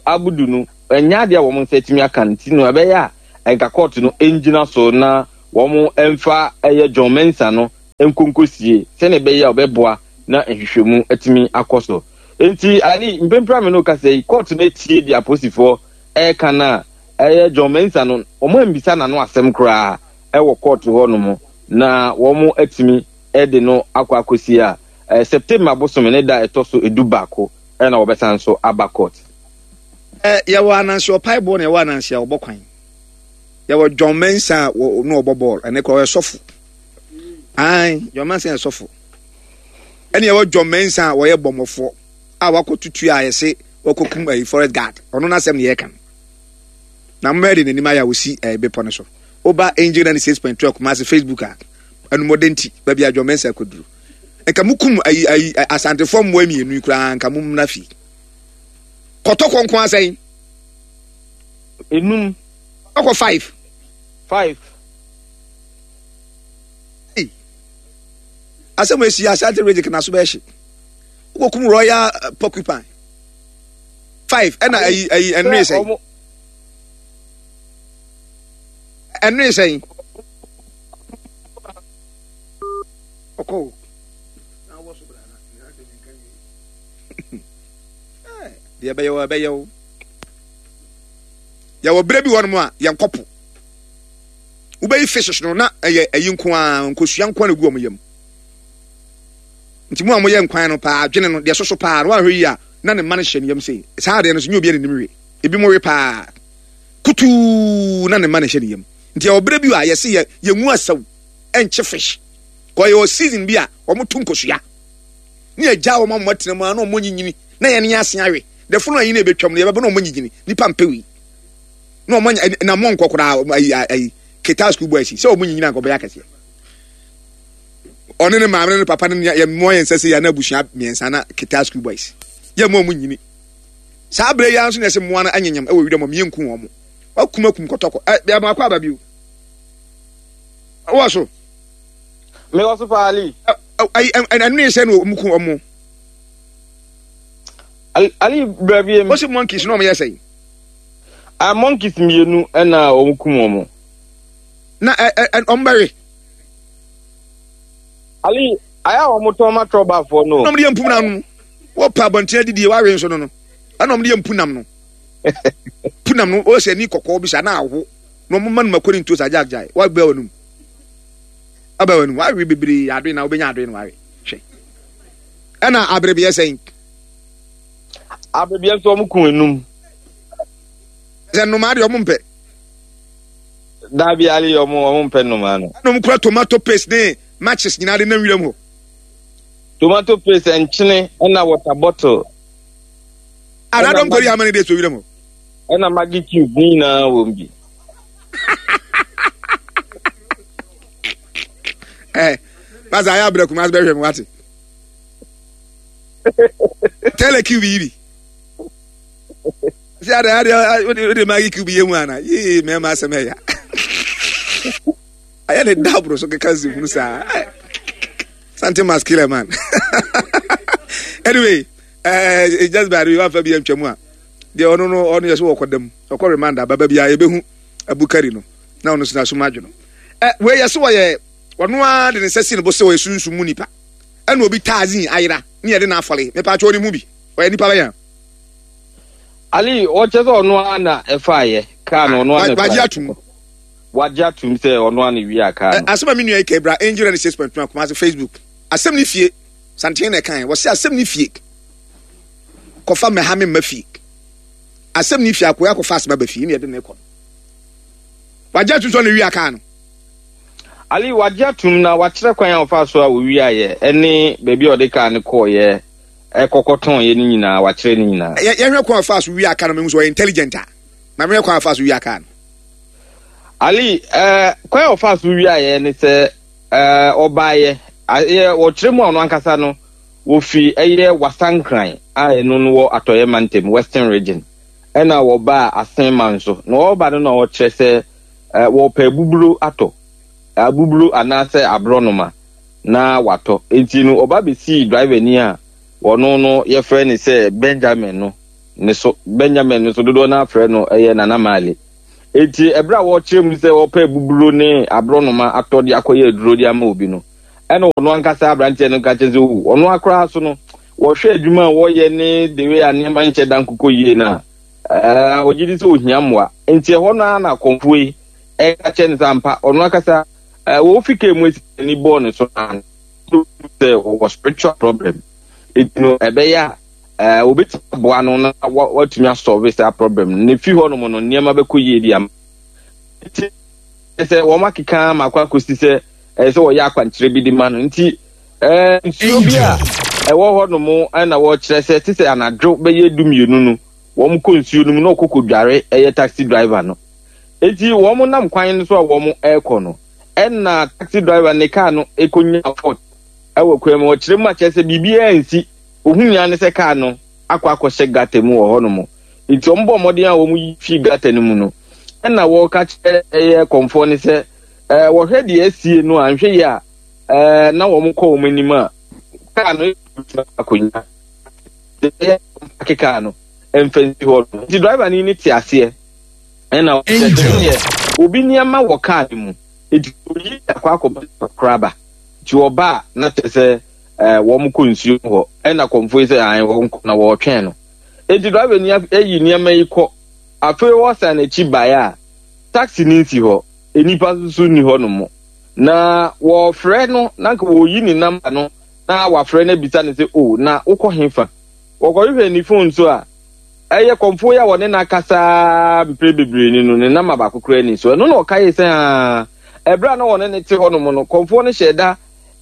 Abudu no Ɛnyɛ adeɛ a wɔn nsa atumi aka no, nti no ɛbɛyɛ a nka court no ngyina so na wɔn mfa ɛyɛ John Mensah no nkonkosie sɛnea ɛbɛyɛ a ɔbɛboa na nhwehwɛmu atumi akɔ so. Nti Ali, mpempere a me no kasa yi, court no atie deɛ apolisifoɔ ɛreka no a ɛyɛ John Mensah no, wɔn ambisa n'ano asɛm koraa ɛwɔ court hɔ nom, na wɔn atumi ɛde no akɔ akɔsie a ɛɛ September bosome ne da ɛtɔ so edu baako ɛna wɔbɛsan so aba court. Ɛ yɛwɔ Anansi ɔpae boɔ na yɛwɔ Anansi a ɔbɔ kwan. Yɛwɔ John Mensah a wɔ na ɔbɔ bɔɔl, ɛne kora ɔyɛ sɔfo. Ae, John Mensah yɛ sɔfo. Ɛne yɛwɔ John Mensah a wɔyɛ bɔmmɔfoɔ a wakɔ tutu a yɛse wɔkɔkum ayi forest guard. Ɔno n'asɛm ne yɛka no. Na mmɛyɛ de n'anim ayɛ a wɔsi ɛɛ bepɔ no so. Woba Angel ninety six point two Kumasi Facebook a, anumɔden nti baabi a John Mensah akɔduru. Nka mukum ayi ayi Asantefoɔ mmoa mmienu yi koraa nka mo mmra fie. Kɔtɔkɔ nko asɛn. Enum. Kɔtɔkɔ five. Five. Hey. Asɛm esi Asante region kana so bɛhye. Wokɔkum Royal Porcupine. Five ɛna ayi ayi ɛnure sɛn. Ɛnure sɛn. Ɔkɔ o. Na wɔ so bra na na asɛm nka wie. Deɛ ɛbɛyɛ wɔ ɛbɛyɛ o. Yɛwɔ berɛ bi wɔ nom a yɛnkɔ po. Wobɛyi fishes no na ɛyɛ ɛyi nko ara, nkosua nko ara na egu wɔn yam. Nti mu a moyɛ nkwan no paa, adwene no deɛ soso paa no woanhwɛ yie a na ne mma no hyɛ ne yam sei. Saa adeɛ no so nyɛ obi a n'anim we. Ebi mo we paa kutuu na ne mma no hyɛ ne yam. Nti yɛwɔ berɛ bi a yɛse yɛ yɛngu asaw ɛnkye fish. Kɔ yɛwɔ season bi a wɔn to nkosua. Ne yɛgya wɔn ama wɔatena mu a na wɔn nyinyini na yɛn ne ase awe. Dɛfo no ayi na ebetwam no yɛbɛbɔ na wɔn nyinyini. Nipa mpɛ wei. Na wɔn anya na mo nkɔ koraa ayi ayi keta school boys sɛ wɔn nyinyini anka ɔbɛyɛ akɛseɛ. Ɔne ne maame ne ne papa ne yɛ mmoa yɛn nsa sɛ yɛn na abusua mmiɛnsa na keta school boys yɛ mo wɔn nyini. Saa abere yi ara nso na yɛsɛ mmoa no anyenyam ɛwɔ widam wɔn yɛnku wɔn. Wakum akum kɔtɔkɔ ɛ bɛn akɔ aba bio. Wɔ so. Me wɔ so paa Ali. Ayi ɛnu yɛ sɛ na wɔn ku wɔn. Ali Ali brɛ bi. Wɔsi monkeys na wɔn yɛ sɛ. Ah, monkeys mmienu ɛna wɔn kum wɔn. Na ɛ ɛ wɔn bɛwe. Ali ayɛ a wɔn tɔn ma trɔbafoɔ no. Na wɔn de yɛ mpum na ano. Wɔpɛ abɔnten adidie wɔawe nso no no. Ɛna wɔn de yɛ mpunam no. Punam no wɔsɛ ani kɔkɔɔ bi sa na aho. Na wɔn ma no mako ne ntoos agyaagyae. Wɔabɛ wɔn anum. Abɛ wɔn anum. Wɔawe bebree adoe na wɔbɛnya adoe na wɔawe. Hwɛ. Ɛna aberebeɛ sɛn. Aberebeɛ nso wɔn kun enum. Sɛ nnomaa deɛ wɔn mpɛ. Dabi Ali wɔn wɔn mpɛ nnomaa no. Ɛna wɔn kura tomato paste ne matches nyinaa de nam wiram hɔ. Tomato paste, nkyene ɛna water bottle. Ana dɔm kɔri how many days wɔ wiram hɔ? Ɛna Maggi cube ne nyinaa wɔ mu bi. Eh, basa ayɛ abirɛ kuma bɛhwɛ mu wate. Tell cube yi bi. Sɛ ade ade wode wode Maggi cube yɛ mu ana? Yee mɛma asɛm ɛya. Ayɛ ne dabro so keka nsɛmhunu saa. Something must kill a man. Anyway, uh, just by the way, wafa bi antwa mu a. Deɛ ɔno no ɔno yɛ so wɔkɔ dam. Ɔkɔ remand ababa bi a yɛbɛhu abukari no. Na ɔno so na so madwo no. Eh, wei yɛ so wɔyɛ ɔno ara de ne nsa si ne bo sɛ ɔyɛ sunsum mu nipa. Ɛna obi taazin ayera ne yɛde no afɔle. Mepa atwa ɔne mu bi. Ɔyɛ nipa bɛyɛ. Ali ɔkyɛ sɛ ɔno ara na ɛfaeɛ kaa no ɔno ara na ɛfaeɛ. Wagye atum. Wagye atum sɛ ɔno ara na ewia kaa no. Asɛm a me nua yi ka ebra Angel ninety six point one Kumasi Facebook. Asɛm ne fie. Santen na ɛkan. Wɔsi asɛm ne fie. Kɔfa mɛha me mma fie. Asɛm ne fie akoya akɔfa asɛm aba fie ne yɛde ne kɔ. Wagye atum sɛ ɔno ewia kaa no. Ali wagye atum na wakyerɛ kwan a ɔfa so a owiaeɛ ɛne baabi a ɔde kaa no kɔɔyɛ ɛkɔkɔtɔn yɛ ne nyinaa wakyerɛ ne nyinaa. Yɛhwɛ kwan a ɔfa so wia kaa no mehu sɛ ɔyɛ intelligent a. Ma mehwɛ kwan a ɔfa so wia kaa no. Ali ɛɛ kwan a ɔfa so wiaeɛ ne sɛ ɛɛ ɔbaeɛ ɛyɛ wɔkyerɛ mu a ɔno ankasa no wofi ɛyɛ Wasankran a ɛno no wɔ Atɔeɛ Mantam, Western Region, ɛna wɔbaa Asenman so na wɔba no na ɔkyerɛ sɛ ɛɛ wɔpɛ abuburo atɔ abuburo anaasɛ aborɔnoma na watɔ. Nti no ɔba besii driver ni a wɔno no yɛfrɛ ne sɛ Benjamin no ne so. Benjamin nso dodoɔ no afrɛ no ɛyɛ Nana Maale. Eti ɛberɛ a wɔkyerɛ mu sɛ wɔpɛ buburo ne aborɔnoma atɔ de akɔyɛ aduro de ama obi no, ɛna ɔno ankasa aberanteɛ no ka kyerɛ sɛ o ɔno akora so no wɔhwɛ adwuma a wɔyɛ ne the way a nneɛma nkyɛ da nkokɔ yie no a, ɛɛ ɔgye di sɛ ohia mmoa. Nti ɛhɔ no ara na akɔmfoɔ yi ɛka kyerɛ no sɛ ampa ɔno ankasa ɛɛ wɔfi kaa mu esi n'ani bɔɔ ne so na sɛ ɔwɔ spiritual problem. Eti no ɛbɛyɛ a ɛɛ obetumi aboa no na watumi asolve saa problem no. Ne fi hɔ nom no nneɛma bɛkɔ yie di ama. Nti sɛ wɔn akeka ama akɔ akɔsi sɛ ɛyɛ sɛ wɔyɛ akwankyerɛ bi de ma no. Nti ɛɛ nsuo bi a ɛwɔ hɔ nom ɛna wɔkyerɛ sɛ te sɛ anadwo bɛyɛ du mmienu no wɔn kɔ nsuo no mu na ɔkɔ kɔdware ɛyɛ taxi driver no. Eti wɔn nam kwan no so a wɔn ɛrekɔ no, ɛna taxi driver ne kaa no ekonya fault ɛwɔ kwan mu. Ɔkyerɛ mu akyerɛ sɛ biribiara nsi, ohun nyinaa ne sɛ kaa no akɔ akɔhyɛ gutter mu wɔ hɔnom. Nti wɔn bɔ mmɔden a wɔn yi fi gutter no mu no, ɛna wɔka kyerɛ ɛyɛ kɔnfoɔ ne sɛ ɛɛ wɔhwɛ deɛ asie no a nhwɛ yie a ɛɛ na wɔn kɔ wɔn anim a kaa no akonnwa ɛyɛ park kaa no mfa nsi hɔ no. Nti driver ni ne te aseɛ ɛna ɔkyerɛ sɛ obi nneɛma wɔ kaa no mu, nti oyi akɔ akɔbɔ koraba. Nti ɔba a na kyerɛ sɛ ɛɛ wɔn kɔ nsuo hɔ, ɛna kɔnfo yi sɛ ayi wɔn kɔ na wɔretwɛn no. Nti driver ni ayi nneɛma yi kɔ. Afei wɔsan n'akyi baeɛ a taxi ni nsi hɔ, nnipa nso ni hɔ nom. Na wɔfrɛ no na nka wɔyi ne number no na wafrɛ no abisa no sɛ o na wokɔ hefa. Wɔkɔhwehwɛ ne phone so a ɛyɛ kɔnfo yi a wɔne no akasa mpere bebree ni no ne number baako koraa ni so. Ɛno na ɔka yi sɛ aa ɛberɛ a na wɔne ne te hɔ nom no, kɔnfoɔ no hyɛ da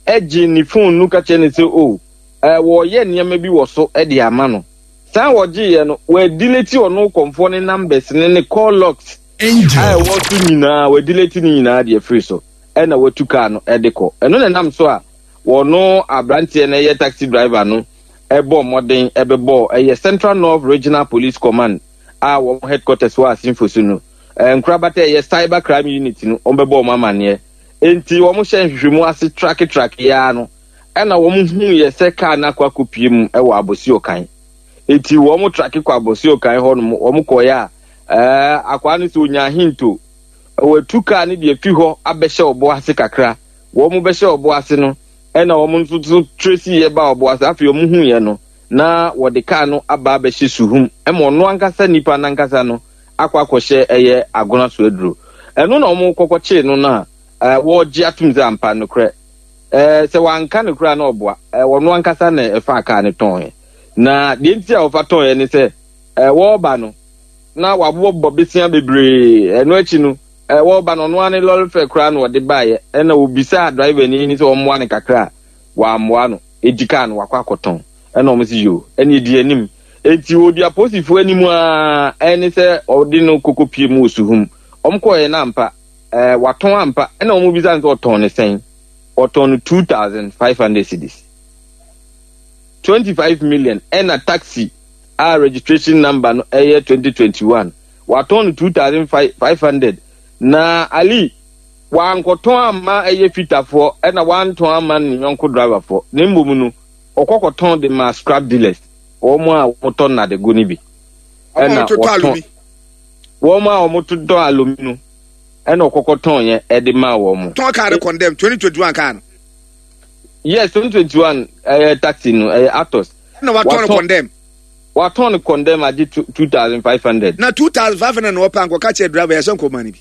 ɛgye ne phone no ka kyerɛ no sɛ o ɛɛ wɔyɛ nneɛma bi wɔ so ɛde ama no. Saa wɔgyeeɛ no, wɔadelete ɔno kɔnfoɔ ne numbers ne ne call logs a ɛwɔ so nyinaa, wɔadelete ne nyinaa deɛ firi so, ɛna watu kaa no ɛde kɔ. Ɛno na ɛnam so a wɔno aberanteɛ no ɛyɛ taxi driver no ɛbɔ mmɔden ɛbɛbɔ ɛyɛ Central North Regional Police Command a wɔn headquarters wɔ Asinfo so no, ɛɛ nkorabata ɛyɛ cyber crime unit no, wɔn bɛbɔ wɔn amanneɛ. Nti wɔn hyɛ nhwehwɛmu ase trake trake yaa no, ɛna wɔn hu yɛ sɛ kaa no akɔ akɔpie mu ɛwɔ Abossey Okai. Nti wɔn trake kɔ Abossey Okai hɔ nom, wɔn kɔɔeɛ a ɛɛ akwaa no sɛ onya ahinto wɔatu kaa no deɛ fi hɔ abɛhyɛ ɔbo ase kakra. Wɔn bɛhyɛ ɔbo ase no, ɛna wɔn nso so trace yɛ ba ɔbo ase. Afei wɔn hu yɛ no na wɔde kaa no aba abɛhyɛ suhum ɛma ɔno ankasa nipa nankasa no akɔ akɔhyɛ ɛyɛ agona so aduro. Ɛno na wɔn kɔkɔ kyee no na ɛɛ wɔregye atum sɛ ampa nokorɛ ɛɛ sɛ wanka nokorɛ a na ɔboa ɛɛ ɔno ankasa na ɛfa kaa no tɔn yɛ. Na deɛ nti a wɔfa tɔn yɛ ne sɛ ɛɛ wɔreba no na wabobɔ besia bebree. Ɛno akyi no ɛɛ wɔreba no ɔno ara ne lɔre fɛ koraa na ɔde baeɛ. Ɛna obisaa driver ni ni sɛ ɔmmoa no kakra a wammoa no, edi kaa no wakɔ akɔtɔn. Ɛna wɔn si yo ɛna edi anim. Eti odi apolisifoɔ anim a ɛne sɛ ɔde no koko pie mu wɔ suhum. Wɔn kɔɛ na ampa ɛɛ watɔn ampa. Ɛna wɔn bisa no sɛ ɔtɔn ne sɛn. Ɔtɔn no two thousand five hundred cedis, twenty five million. Ɛna taxi a registration number no ɛyɛ twenty twenty one, watɔn no two thousand five hundred. Na Ali wankɔtɔn ama ɛyɛ fitafoɔ, ɛna wantɔn ama ne yɔnko driverfoɔ, na mmom no ɔkɔkɔtɔn de ma scrap dealers, wɔn a wɔtɔ nnadego no bi. Ɛna wɔtɔn wɔn a wɔtotɔ alomi no, ɛna ɔkɔkɔtɔn yɛ ɛde ma wɔn. Tɔn kaa no condemn twenty twenty one kaa no. Yes, twenty twenty one ɛyɛ taxi no, ɛyɛ Atos. Ɛna watɔn no condemn. Watɔn no condemn agye two thousand five hundred. Na two thousand five hundred na ɔpɛ ankɔka kyerɛ driver yɛ sɛ nkɔma no bi.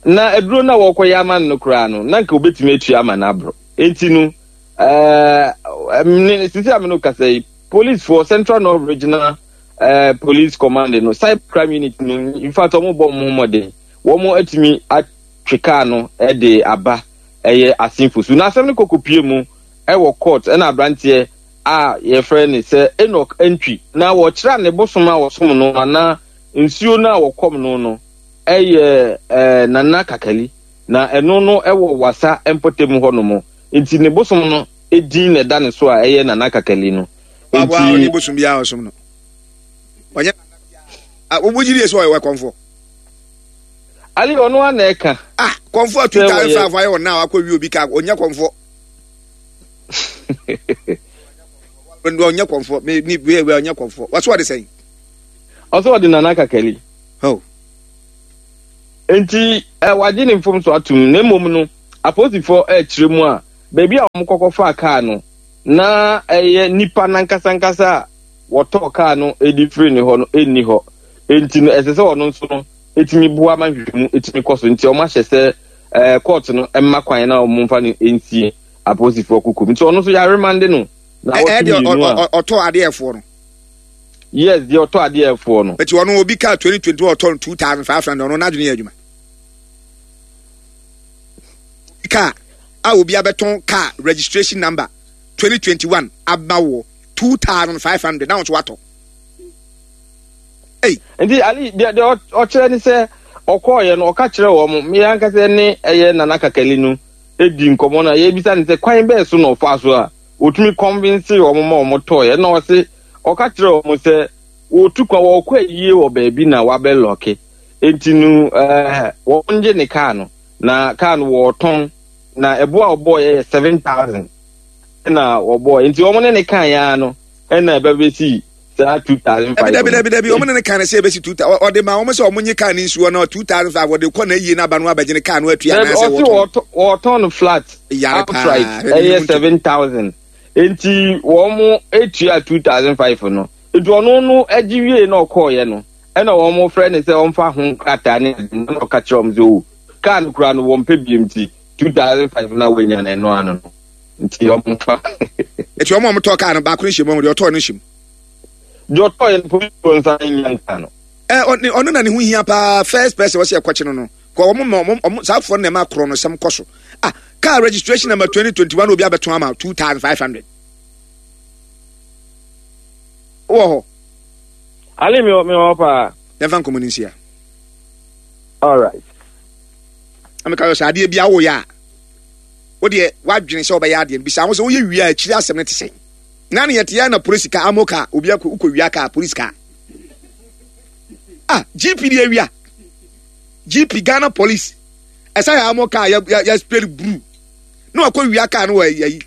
Na aduro no a wɔkɔyɛ ama no koraa no, na nka obetumi atua ama no aboro. Eti no ɛɛ ne sisi a mi no kasa yi, police for Central North Regional ɛɛ Police Command no, cyber crime unit no, in fact wɔn bɔ wɔn ho mmɔden, wɔn atumi atwe kaa no ɛde aba ɛyɛ Asinfo so. Na asɛm no kɔkɔ pie mu ɛwɔ court, ɛna aberanteɛ a yɛfrɛ ne sɛ Enoch Antwi na wɔkyerɛ ne bosom a wɔsom no anaa nsuo no a wɔkɔm no no ɛyɛ ɛɛ Nana Kakali, na ɛno no ɛwɔ Wasa mpɔtam hɔ nom. Nti ne bosom no edin na ɛda ne so a ɛyɛ Nana Kakali no. Nti ɔne bosom biara ɔsom no ɔnyɛ wo gyiri yɛ sɛ ɔyɛ kɔnfo. Ali, ɔno ana ɛka. Ah, kɔnfo a two thousand five ayɛ ɔna a wakɔ wi obi ka ɔnyɛ kɔnfo, ɔnyɛ kɔnfo, me ni wei wei ɔnyɛ kɔnfo. Wɔso ɔde sɛn. Ɔsɛ ɔde Nana Kakali. Oh. Nti ɛ wagye ne mfom so atum, na mmom no apolisifoɔ ɛrekyerɛ mu a, baabi a wɔn kɔkɔ faa kaa no na ɛyɛ nipa nankasankasa a wɔtɔɔ kaa no edi firi ne hɔ no ɛnni hɔ. Nti no ɛsɛ sɛ ɔno nso no etumi boa ma nhwehwɛmu etumi kɔ so. Nti wɔn ahyɛ sɛ ɛɛ court no ɛmma kwan na wɔn mfa no nsie apolisifoɔ kukum. Nti ɔno nso yɛaremande no na Ɛ wɔtwe deɛ mmienu a ɔtɔ adeɛfoɔ no. Yes, deɛ ɔtɔ adeɛfoɔ no. Eti ɔno obi kaa twenty twenty ɔtɔ no two thousand five hundred, ɔno n'adwene yɛ adwuma. Kaa a obi abɛtɔn kaa registration number twenty twenty one aba wɔ two thousand five hundred na wɔn nso watɔ. Ei. Nti Ali, deɛ deɛ ɔkyerɛ ne sɛ ɔkɔɔyɛ no, ɔka kyerɛ wɔn, mmea ankasa ne ɛyɛ Nana Kakali no edi nkɔmɔ no a yɛbisa ne sɛ kwan bɛɛ so na ɔfa so a otumi convince wɔn ma wɔn tɔɔyɛ, na ɔse ɔka kyerɛ wɔn sɛ wɔtu kwan, wɔkɔ ayie wɔ baabi na wabɛ lock, nti no ɛɛ wɔn gye ne kaa no, na kaa no wɔɔtɔn na ɛbo a ɔbɔɔyɛ yɛ seven thousand ɛna wɔbɔɔ. Nti wɔn ne ne kaa ya no ɛna ɛbɛbɛsi saa two thousand five. Dabi dabi dabi, wɔn ne ne kaa no sɛ ɛbɛsi two thousand. Ɔde ma wɔn sɛ wɔn nye kaa ne nsuo no two thousand five, wɔde kɔ na ayie n'aba no abɛgye ne kaa no atua anaasɛ wɔtɔn. Wɔtɔn no flat outright ɛyɛ seven thousand, nti wɔn mo etua two thousand five no. Nti ɔno no agye wie na ɔkɔɔyɛ no, ɛna wɔn mo frɛ ne sɛ ɔmfa ho krataa ne ade, na ɔka kyerɛ wɔn sɛ o, kaa no kura no wɔn pɛ biem, ti two thousand five na wɔanya no ɛno ano no, nti wɔn fa. Eti wɔn a wɔtɔ kaa no baako no hyɛ mu, wɔn deɛ ɔtɔɔ no hyɛ mu. Deɛ ɔtɔɔ yɛ no, polisi nsa nya nka no. Ɛ ɔno na ne ho hia paa, first person wɔsɛ ɛkɔkye no no kɔ wɔn ma wɔn wɔn saa afoɔ no na ɛma korɔ no sɛm kɔ so. Ah, car registration number twenty twenty one, obi abɛtɔn ama two thousand five hundred wɔ hɔ. Ale, mi wɔ mi wɔ paa. Yɛnfa nkɔmɔ ne nsia. All right. Ameka yɛ sɛ adeɛ bi awo yɛ a, wo deɛ wadwene sɛ ɔbɛyɛ adeɛ no, bisa ho sɛ woyɛ wie a, akyiri asɛm no te sɛn. Na ne yɛte yɛ na polisi kaa amo kaa obi akɔ wokɔ wia kaa, polisi kaa, ah, G P de awia G P, Ghana Police, ɛsɛ yɛ amo kaa yɛ yɛ spray blue na wakɔ wia kaa no wɔ ayi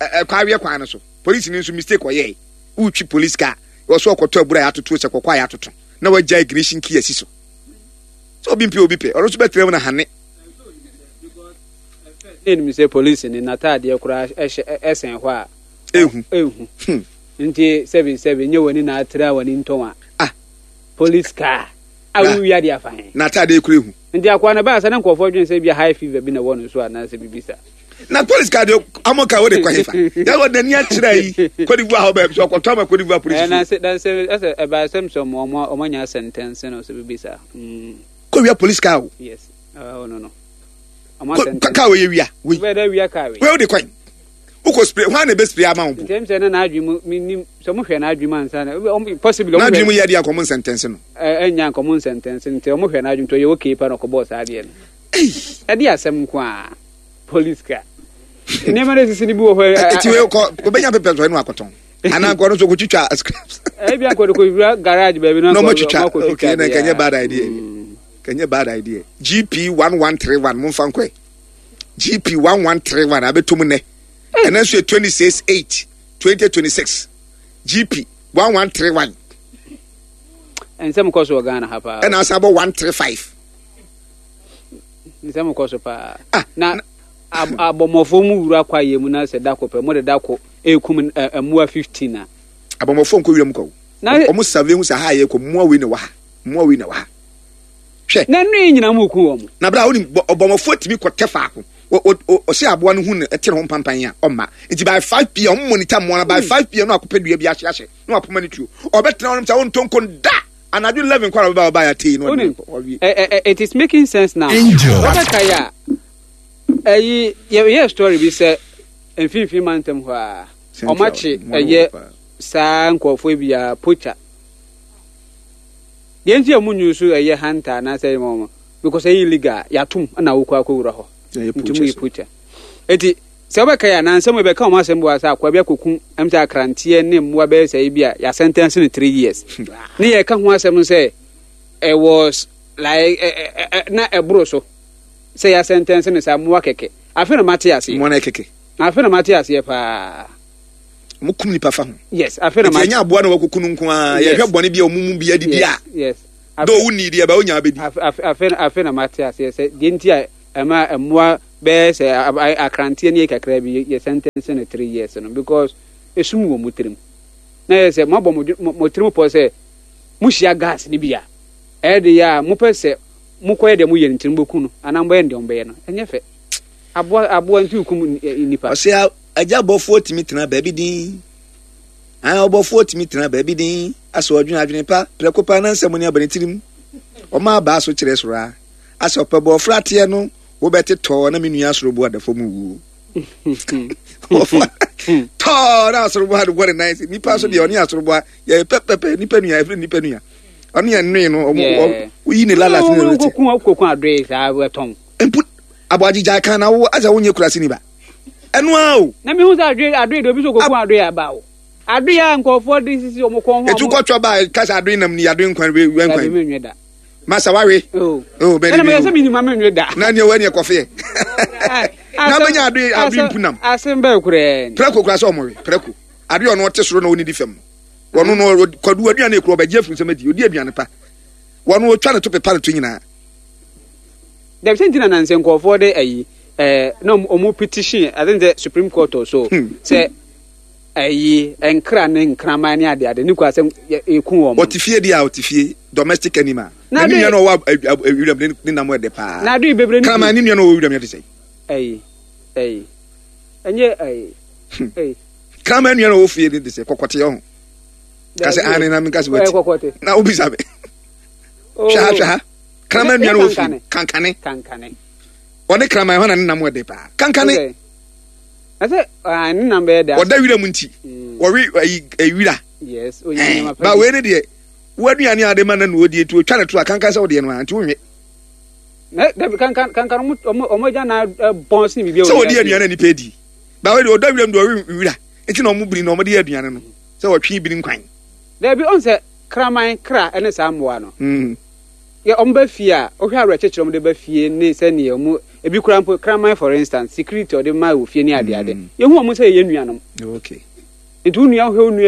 ɛkɔ awiɛ kwan no so. Polisi ni nso mistake ɔyɛ, wotwi polisi kaa wɔso ɔkɔtɔ abura yɛ atoto sɛ kɔkɔ a yɛ atoto na wagya ignition key asi so sɛ obi mpɛ obi pɛ, ɔno nso bɛtena mu na hane. Ɛnim sɛ polisi ni n'ataadeɛ koraa ɛhyɛ ɛsɛn hɔ a ehu. Ehu. Nti sɛbi sɛbi nye w'ani na atira w'ani ntɔn a ah police car a wowia de afa he? N'ataadeɛ kura ehu. Nti akoa no baa sɛ ne nkɔfoɔ dwen sɛ bi high fever bi na ɛwɔ no so anaasɛ biribi sa. Na police car deɛ, amo car wode kɔ hefa? Yɛ wɔ n'ani akyerɛ yi Cote d'Ivoire hɔ baabi so ɔkɔtɔ ama Cote d'Ivoire police. Ɛna sɛ dan sɛ ɛsɛ ɛbaa sɛm sɛ ɔmo ɔmo ɔmo anya sentence no sɛ biribi sa. Mm. Kɔ wia police car o. Yes, ɔno no ɔmo asɛntɛnse. Car wɔ yɛ wia wei. Wobɛyɛ dɛ wia car wei. Wei wode kwan wokɔ spray hwan na ebe spray ama wo mpo? Ntɛm sɛ na n'adwene mu menim sɛ ɔmo hwɛ n'adwene mu ansa na ɔmo possibly ɔmo n'adwene mu yɛ deɛ nkɔmɔ nsɛntɛnse no. Ɛ ɛnya nkɔmɔ nsɛntɛnse, nti ɔmo hwɛ n'adwene nti ɔyɛ okay pa na ɔkɔbɔɔ saa adeɛ no. Ɛde asɛm nko a police car nneɛma no esisi no bi wɔ hɔ. Eti wei kɔ obɛnya pepɛ sɔ ɛnu akɔtɔn anaa nkɔ no so kɔtwitwa scraps. Ebi ankɔ de kɔ garage baabi na ɔmo atwitwa. Okay, na nkɛnyɛ bad idea, nkɛnyɛ bad idea. G P one one three one, mo nfa nkɔɛ G P one one three one abɛtɔ mu nɛ. Ɛnɛ nso yɛ twenty six eight twenty twenty six, G P one one three one. Nsɛm kɔ so wɔ Ghana ha paa. Ɛna asa bɔ one three five. Nsɛm kɔ so paa na abɔmmɔfoɔ mu wura kwaeɛ mu na sɛ dako pɛ mo de dako ekum mmoa fifteen a. Abɔmmɔfoɔ nkɔ wura mu kɔ o, ɔmo survey hu sɛ ha yɛ kɔ, mmoa wei na wɔ ha, mmoa wei na wɔ ha, hwɛ. Na nnu yi nyinaa mu ku wɔn. Na bra wonim ɔbɔmmɔfoɔ tumi kɔtɛ faako, ɔsɛ aboa no hu no ɛte ne ho mpampan a ɔmma. Nti by five p m ɔmo monitor mmoa no. By five p m no akɔpɛ dua bi ahyɛ ahyɛ na wapoma ne tuo, ɔbɛtena hɔ nom sɛ ɔntɔ nkon da anadwo eleven kɔ a ɔbɛba ɔba yɛ atei no. Wonim, it is making sense now. Wɔbɛka yɛ a ɛyi yɛ story bi sɛ mfimfini mantam hɔ a ɔmakye ɛyɛ saa nkurɔfoɔ bi a poacher deɛ nti a ɔmo nyu so ɛyɛ hunter anaasɛ ɛyɛ wɔn because ɛyɛ illegal yɛatom ɛna wokɔ akɔwura hɔ nti mu yɛ poacher. Eti sɛ wobɛka yɛ anansɛm yɛbɛka wɔn asɛm bi wɔ sɛ akoa bi akɔku ɛm sɛ akranteɛ ne mmoa bɛyɛ sɛ bi a yɛasentence no three years ne yɛka ho asɛm sɛ ɛwɔ like ɛ ɛ na ɛboro so sɛ yɛasentence no saa mmoa kɛkɛ. Afei na mate aseɛ. Mmoa no kɛkɛ. Afei na mate aseɛ paa. Ɔmo kum nipa fa ho. Yes, afei na ma. Nti ɛnyɛ aboa na wakuku no nko ara. Yɛhwɛ bɔne bi a ɔmo mu bi adidi a. Yes. Dɛ owu ni deɛ ɛbɛ onya abɛdi. Afei afei na mate aseɛ sɛ deɛ nti a ɛma mmoa bɛyɛ sɛ akranteɛ ne yɛ kakra bi yɛ sentence no three years no, because esum wɔ mo tirim. Na yɛ sɛ moabɔ mo mo tirim pɔ sɛ mohyia gas ne bi a, ɛyɛ de yɛ a mopɛ sɛ mokɔyɛ deɛ moyɛ no nti no mobɛku no anaa mobɛyɛ no deɛ mobɛyɛ no. Ɛnyɛ fɛ. Aboa aboa nti kum nipa. Ɔsɛ agya bɔfoɔ tumi tena baabi din. Ah, ɔbɔfoɔ tumi tena baabi din. Asɛ ɔdwene adwene pa, prɛko pa na nsɛm ne aba ne tirim. Ɔma abaa so kyerɛ soro a. Asɛ ɔpɛ bɔɔfra ateɛ no, wobɛte tɔɔ na me nua asoro bo ada fam wuo. Tɔɔ na asoro bo ade bɔ ne nan se. Nipa so deɛ ɔne asoro bo yɛ pɛpɛpɛ, nipa nua, ɛfiri nipa nua. Ɔne yɛn nnoe no, ɔmo woyi ne lalas ne ne te. Wokoko adoe saa wɔtɔn. Mpo aboagye gyae kan na wo asɛ wonyɛ kurase ni ba. Ɛno ara o. Na mehu sɛ adoe adoe de obi so koko adoe aba o. Adoe a nkurɔfoɔ de sisi wɔn kɔn ho. Etu kɔtɔ ba kasa adoe nam ni adoe nkwan we nkwan. Dabi menwe da. Masa wawe. Oh. Oh, bɛni bi. Ɛna meyɛ sɛ menim ma menwe da. Na neɛ wani ɛkɔfeɛ. Na bɛnya adoe adoe mpunam. Asɛm bɛɛ koraa ni. Prɛko koraa sɛ ɔmo we prɛko. Adoe ɔno ɔte soro na ɔnidi fam no. Wɔno no kwadu aduane ekura ɔbɛgye afiri nsɛm adi odi aduane pa. Wɔno otwa ne to pepa ne to nyinaa. Dabi sɛ nti na nansɛ nkurɔfoɔ de ayi ɛɛ na ɔmo petition, I think sɛ Supreme Court or so, hmm. sɛ ayi nkra ne nkraman ne ade ade ne kura sɛ eku wɔn. Ɔte fie deɛ a, ɔte fie, domestic animal. Na ne nua no ɔwɔ wiram ne nam ɛdɛ paa. Na ado bebree ne kraman ne nua no ɔwɔ wiram yɛ de sɛ. Ɛyi ɛyi ɛnyɛ ɛyi ɛyi. Kraman nua no ɔwɔ fie ne de sɛ kɔkɔte ɔho. Kasɛ ane na mi kasɛ wati. Na obisa mi. Hwɛ ha, hwɛ ha. Kraman nua no wɔ fie kankane. Kankane. Ɔne kraman hɔ na ne nam ɛdɛ paa. Kankane. Ɛsɛ ne nam bɛyɛ dɛ. Ɔda wira mu nti. Wɔwe ayi wira. Yes. Ba wei ne deɛ wo aduane a ade ma na na ɔdi etu otwa ne to a kankan sɛ wodeɛ no a nti wonwe. Na dabi kankan kankan ɔmo ɔmo ɔmo agya na bɔn sin bibi. Sɛ wɔdi aduane a nipa edi. Ba wei deɛ ɔda wira mu deɛ ɔwe wira nti na ɔmo biri na ɔmo de yɛ aduane no sɛ wɔtwe biri nkwan. Dabi ɔn sɛ kraman kra ɛne saa mmoa no. Yɛ ɔmo ba fie a, wohwɛ awerɛkyekyerɛ ɔmo de ba fie ne sɛnea ɔmo ebi kura mpo kraman, for instance, security ɔde ma wɔ fie ne ade ade. Yɛhu ɔmo sɛ yɛyɛ nuanom. Okay. Nti wo nua, wohwɛ wo nua